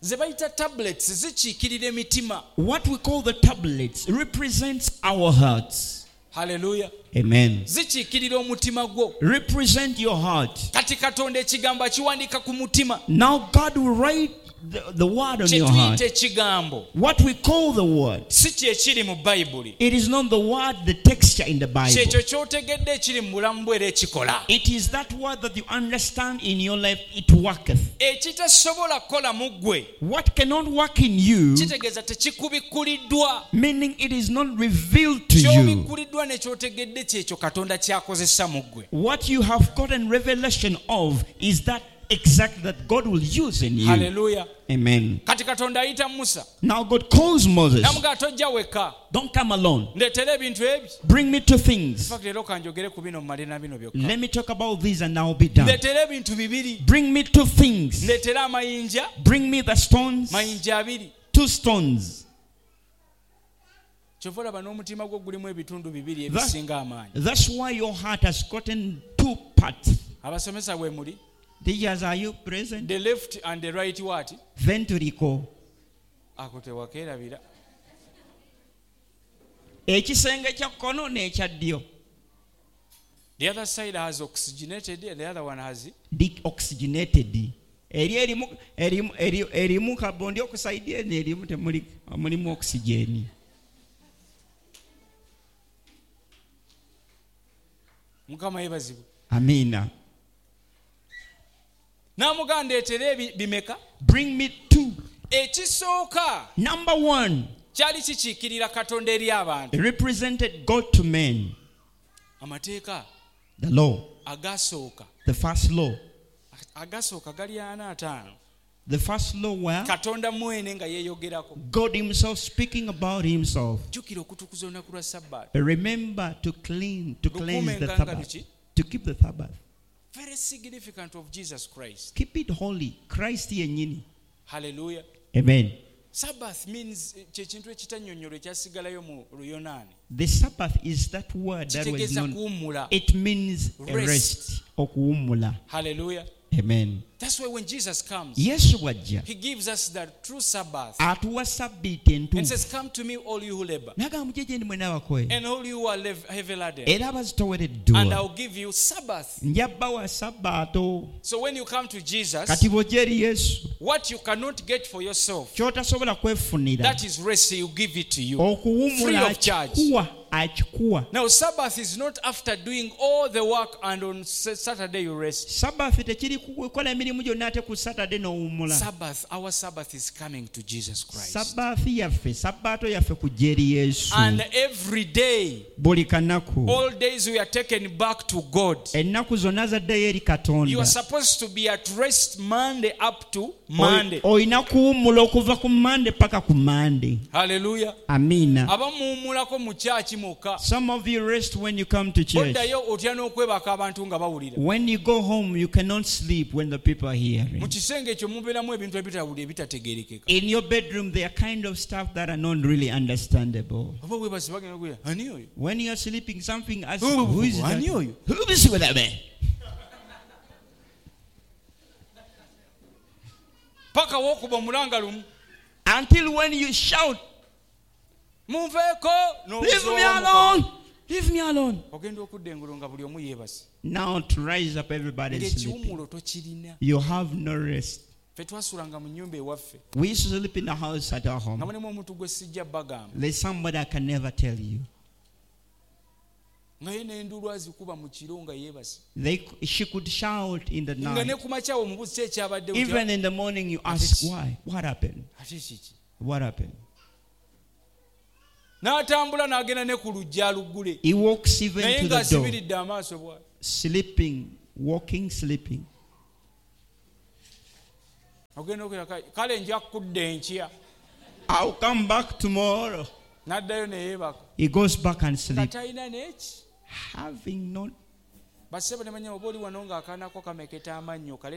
S1: Ze bayita tablets zikiikirira emitima.
S4: What we call the tablets represents our hearts.
S1: Haleluya.
S4: Amen.
S1: Zikiikirira omutima gwo.
S4: Represent your heart.
S1: Kati Katonda ekigambo akiwandiika ku mutima.
S4: Now God will write the, the word on
S1: Kye
S4: your heart.
S1: tuyita ekigambo
S4: What we call the word.
S1: Si kye kiri mu Bayibuli.
S4: It is not the word, the texture in the Bible.
S1: Kyekyo ky'otegedde ekiri mu bulamu bwo era ekikola.
S4: It is that word that you understand in your life, it worketh.
S1: Ekitasobola kukola mu ggwe
S4: What cannot work in you,
S1: kitegeeza tekikubikkuliddwa.
S4: Meaning it is not revealed to you.
S1: Ky'obikkuliddwa ne ky'otegedde kyekyo Katonda ky'akozesa mu ggwe.
S4: What you have gotten revelation of is that exact that God will use in you.
S1: Haleluya.
S4: Amen.
S1: Kati Katonda ayita Musa.
S4: Now God calls Moses.
S1: N'amugamba tojja wekka.
S4: Don't come alone.
S1: Ndeetera ebintu ebyo.
S4: Bring me two things.
S1: In fact, leero kanjogere ku bino mmale na bino byokka.
S4: Let me talk about this and I'll be done.
S1: Ndeetera ebintu bibiri.
S4: Bring me two things.
S1: Ndeetera amayinja.
S4: Bring me the stones.
S1: Mayinja abiri.
S4: Two stones.
S1: Kyova olaba n'omutima gwo gulimu ebitundu bibiri
S4: That-
S1: ebisinga amaanyi.
S4: That's why your heart has gotten two parts.
S1: Abasomesa bwe muli.
S4: Teachers, are you present?
S1: The left and the right what?
S4: Ventricle.
S1: Ako tewakeerabira.
S4: Ekisenge kya kkono n'ekya ddyo.
S1: The other side has oxygenated and the other one has
S4: Deoxygenated. Eri erimu erimu eri- erimu carbon dioxide eno erimu temuli mulimu oxygen.
S1: Mukama yeebazibwe.
S4: Amiina.
S1: N'amugamba ndeetera ebi bimeka?
S4: Bring me two.
S1: Ekisooka
S4: Number one,
S1: kyali kikiikirira Katonda eri abantu.
S4: Represented God to men.
S1: Amateeka
S4: The law,
S1: agasooka
S4: the first law.
S1: agasooka gali ana ataano.
S4: The first law were
S1: Katonda mwene nga yeeyogerako.
S4: God himself speaking about himself.
S1: Jjukira okutukuza olunaku lwa Sabbaato.
S4: Remember to clean, to cleanse the
S1: Lukuumenga nga
S4: Sabbath.
S1: luki?
S4: To keep the Sabbath.
S1: Very significant of Jesus Christ.
S4: Keep it holy. Christ yennyini.
S1: Hallelujah.
S4: Amen.
S1: Sabbath means eh, kye kintu ekitannyonnyolwa ekyasigalayo mu Luyonaani.
S4: The Sabbath is that word that was
S1: Kitegeeza
S4: known.
S1: kuwummula.
S4: It means a
S1: Rest.
S4: rest. Okuwummula.
S1: Hallelujah.
S4: Amen.
S1: That's why when Jesus comes,
S4: Yesu bw'ajja
S1: he gives us the true Sabbath
S4: atuwa sabbiiti
S1: and
S4: entuufu.
S1: says, "Come to me, all you who labor
S4: N'agamba mujje gye ndi mwenna abakooye
S1: and all you who are lev- heavy laden,
S4: era abazitoowereddwa
S1: and I'll give you Sabbath."
S4: nja bbawa sabbaato.
S1: So when you come to Jesus,
S4: Kati bw'ojja eri Yesu
S1: what you cannot get for yourself,
S4: ky'otasobola kwefunira
S1: that is rest, he'll give it to you. Free
S4: okuwummula
S1: of charge.
S4: akikuwa akikuwa.
S1: Now, Sabbath is not after doing all the work and on Sa- Saturday you rest.
S4: Sabbath tekiri kukola emirimu emirimu gyonna ate ku Saturday n'owummula.
S1: Sabbath, our Sabbath is coming to Jesus Christ.
S4: Sabbaafi yaffe, sabbaato yaffe kujja eri Yesu.
S1: And every day,
S4: Buli kanaku.
S1: all days we are taken back to God.
S4: Ennaku zonna zaddayo eri
S1: You
S4: Katonda.
S1: are supposed to be at rest Monday up to Monday.
S4: Olina kuwummula okuva ku Monday paka ku Monday.
S1: Hallelujah.
S4: Amiina.
S1: Abamuwummulako mu kyaki mwokka.
S4: Some of you rest when you come to church.
S1: Oddayo otya n'okwebaka abantu nga bawulira.
S4: When you go home, you cannot sleep when the people are hearing.
S1: Mu kisenge ekyo mubeeramu ebintu ebitawulira ebitategeerekeka.
S4: In your bedroom, there are kind of stuff that are not really understandable.
S1: Oba weebase bagenda okuwulira, ani oyo?
S4: When you are sleeping, something asks,
S1: Who-
S4: who is that?
S1: ani oyo?
S4: Who is with that man?
S1: Paka w'okuba omulanga lumu.
S4: Until when you shout,
S1: Munveeko
S4: leave me
S1: n'obuzibu
S4: alone! Leave me alone!
S1: Ogenda okudda engulu nga buli omu yeebase.
S4: Now to rise up, everybody is sleeping.
S1: Ng'ekiwummulo tokirina.
S4: You have no rest.
S1: Ffe twasulanga mu nnyumba ewaffe.
S4: We used to sleep in the house at our
S1: Nga
S4: home.
S1: mulimu omuntu gwe sijja bagamba.
S4: There's somebody I can never tell you.
S1: Nga ye n'enduulu azikuba mu kiro nga yeebase.
S4: They, she could shout in the
S1: Nga ne
S4: night.
S1: ku makya omubuuzi ki ekyabadde otya?
S4: Even in the morning, you ask why. What happened?
S1: Ate kiki?
S4: What happened?
S1: N'atambula n'agenda ne ku luggi aluggule.
S4: He walks even
S1: Naye
S4: to the door,
S1: ng'asibiridde amaaso bw'ati.
S4: sleeping, walking, sleeping.
S1: Ogenda okera kale nja kudda enkya.
S4: I'll come back tomorrow.
S1: N'addayo ne yeebaka.
S4: He goes back and
S1: Nga
S4: sleeps,
S1: talina n'eki.
S4: having not.
S1: Bassebo ne banyama oba oli wano ng'akaana ko kameketa amannyo kaleete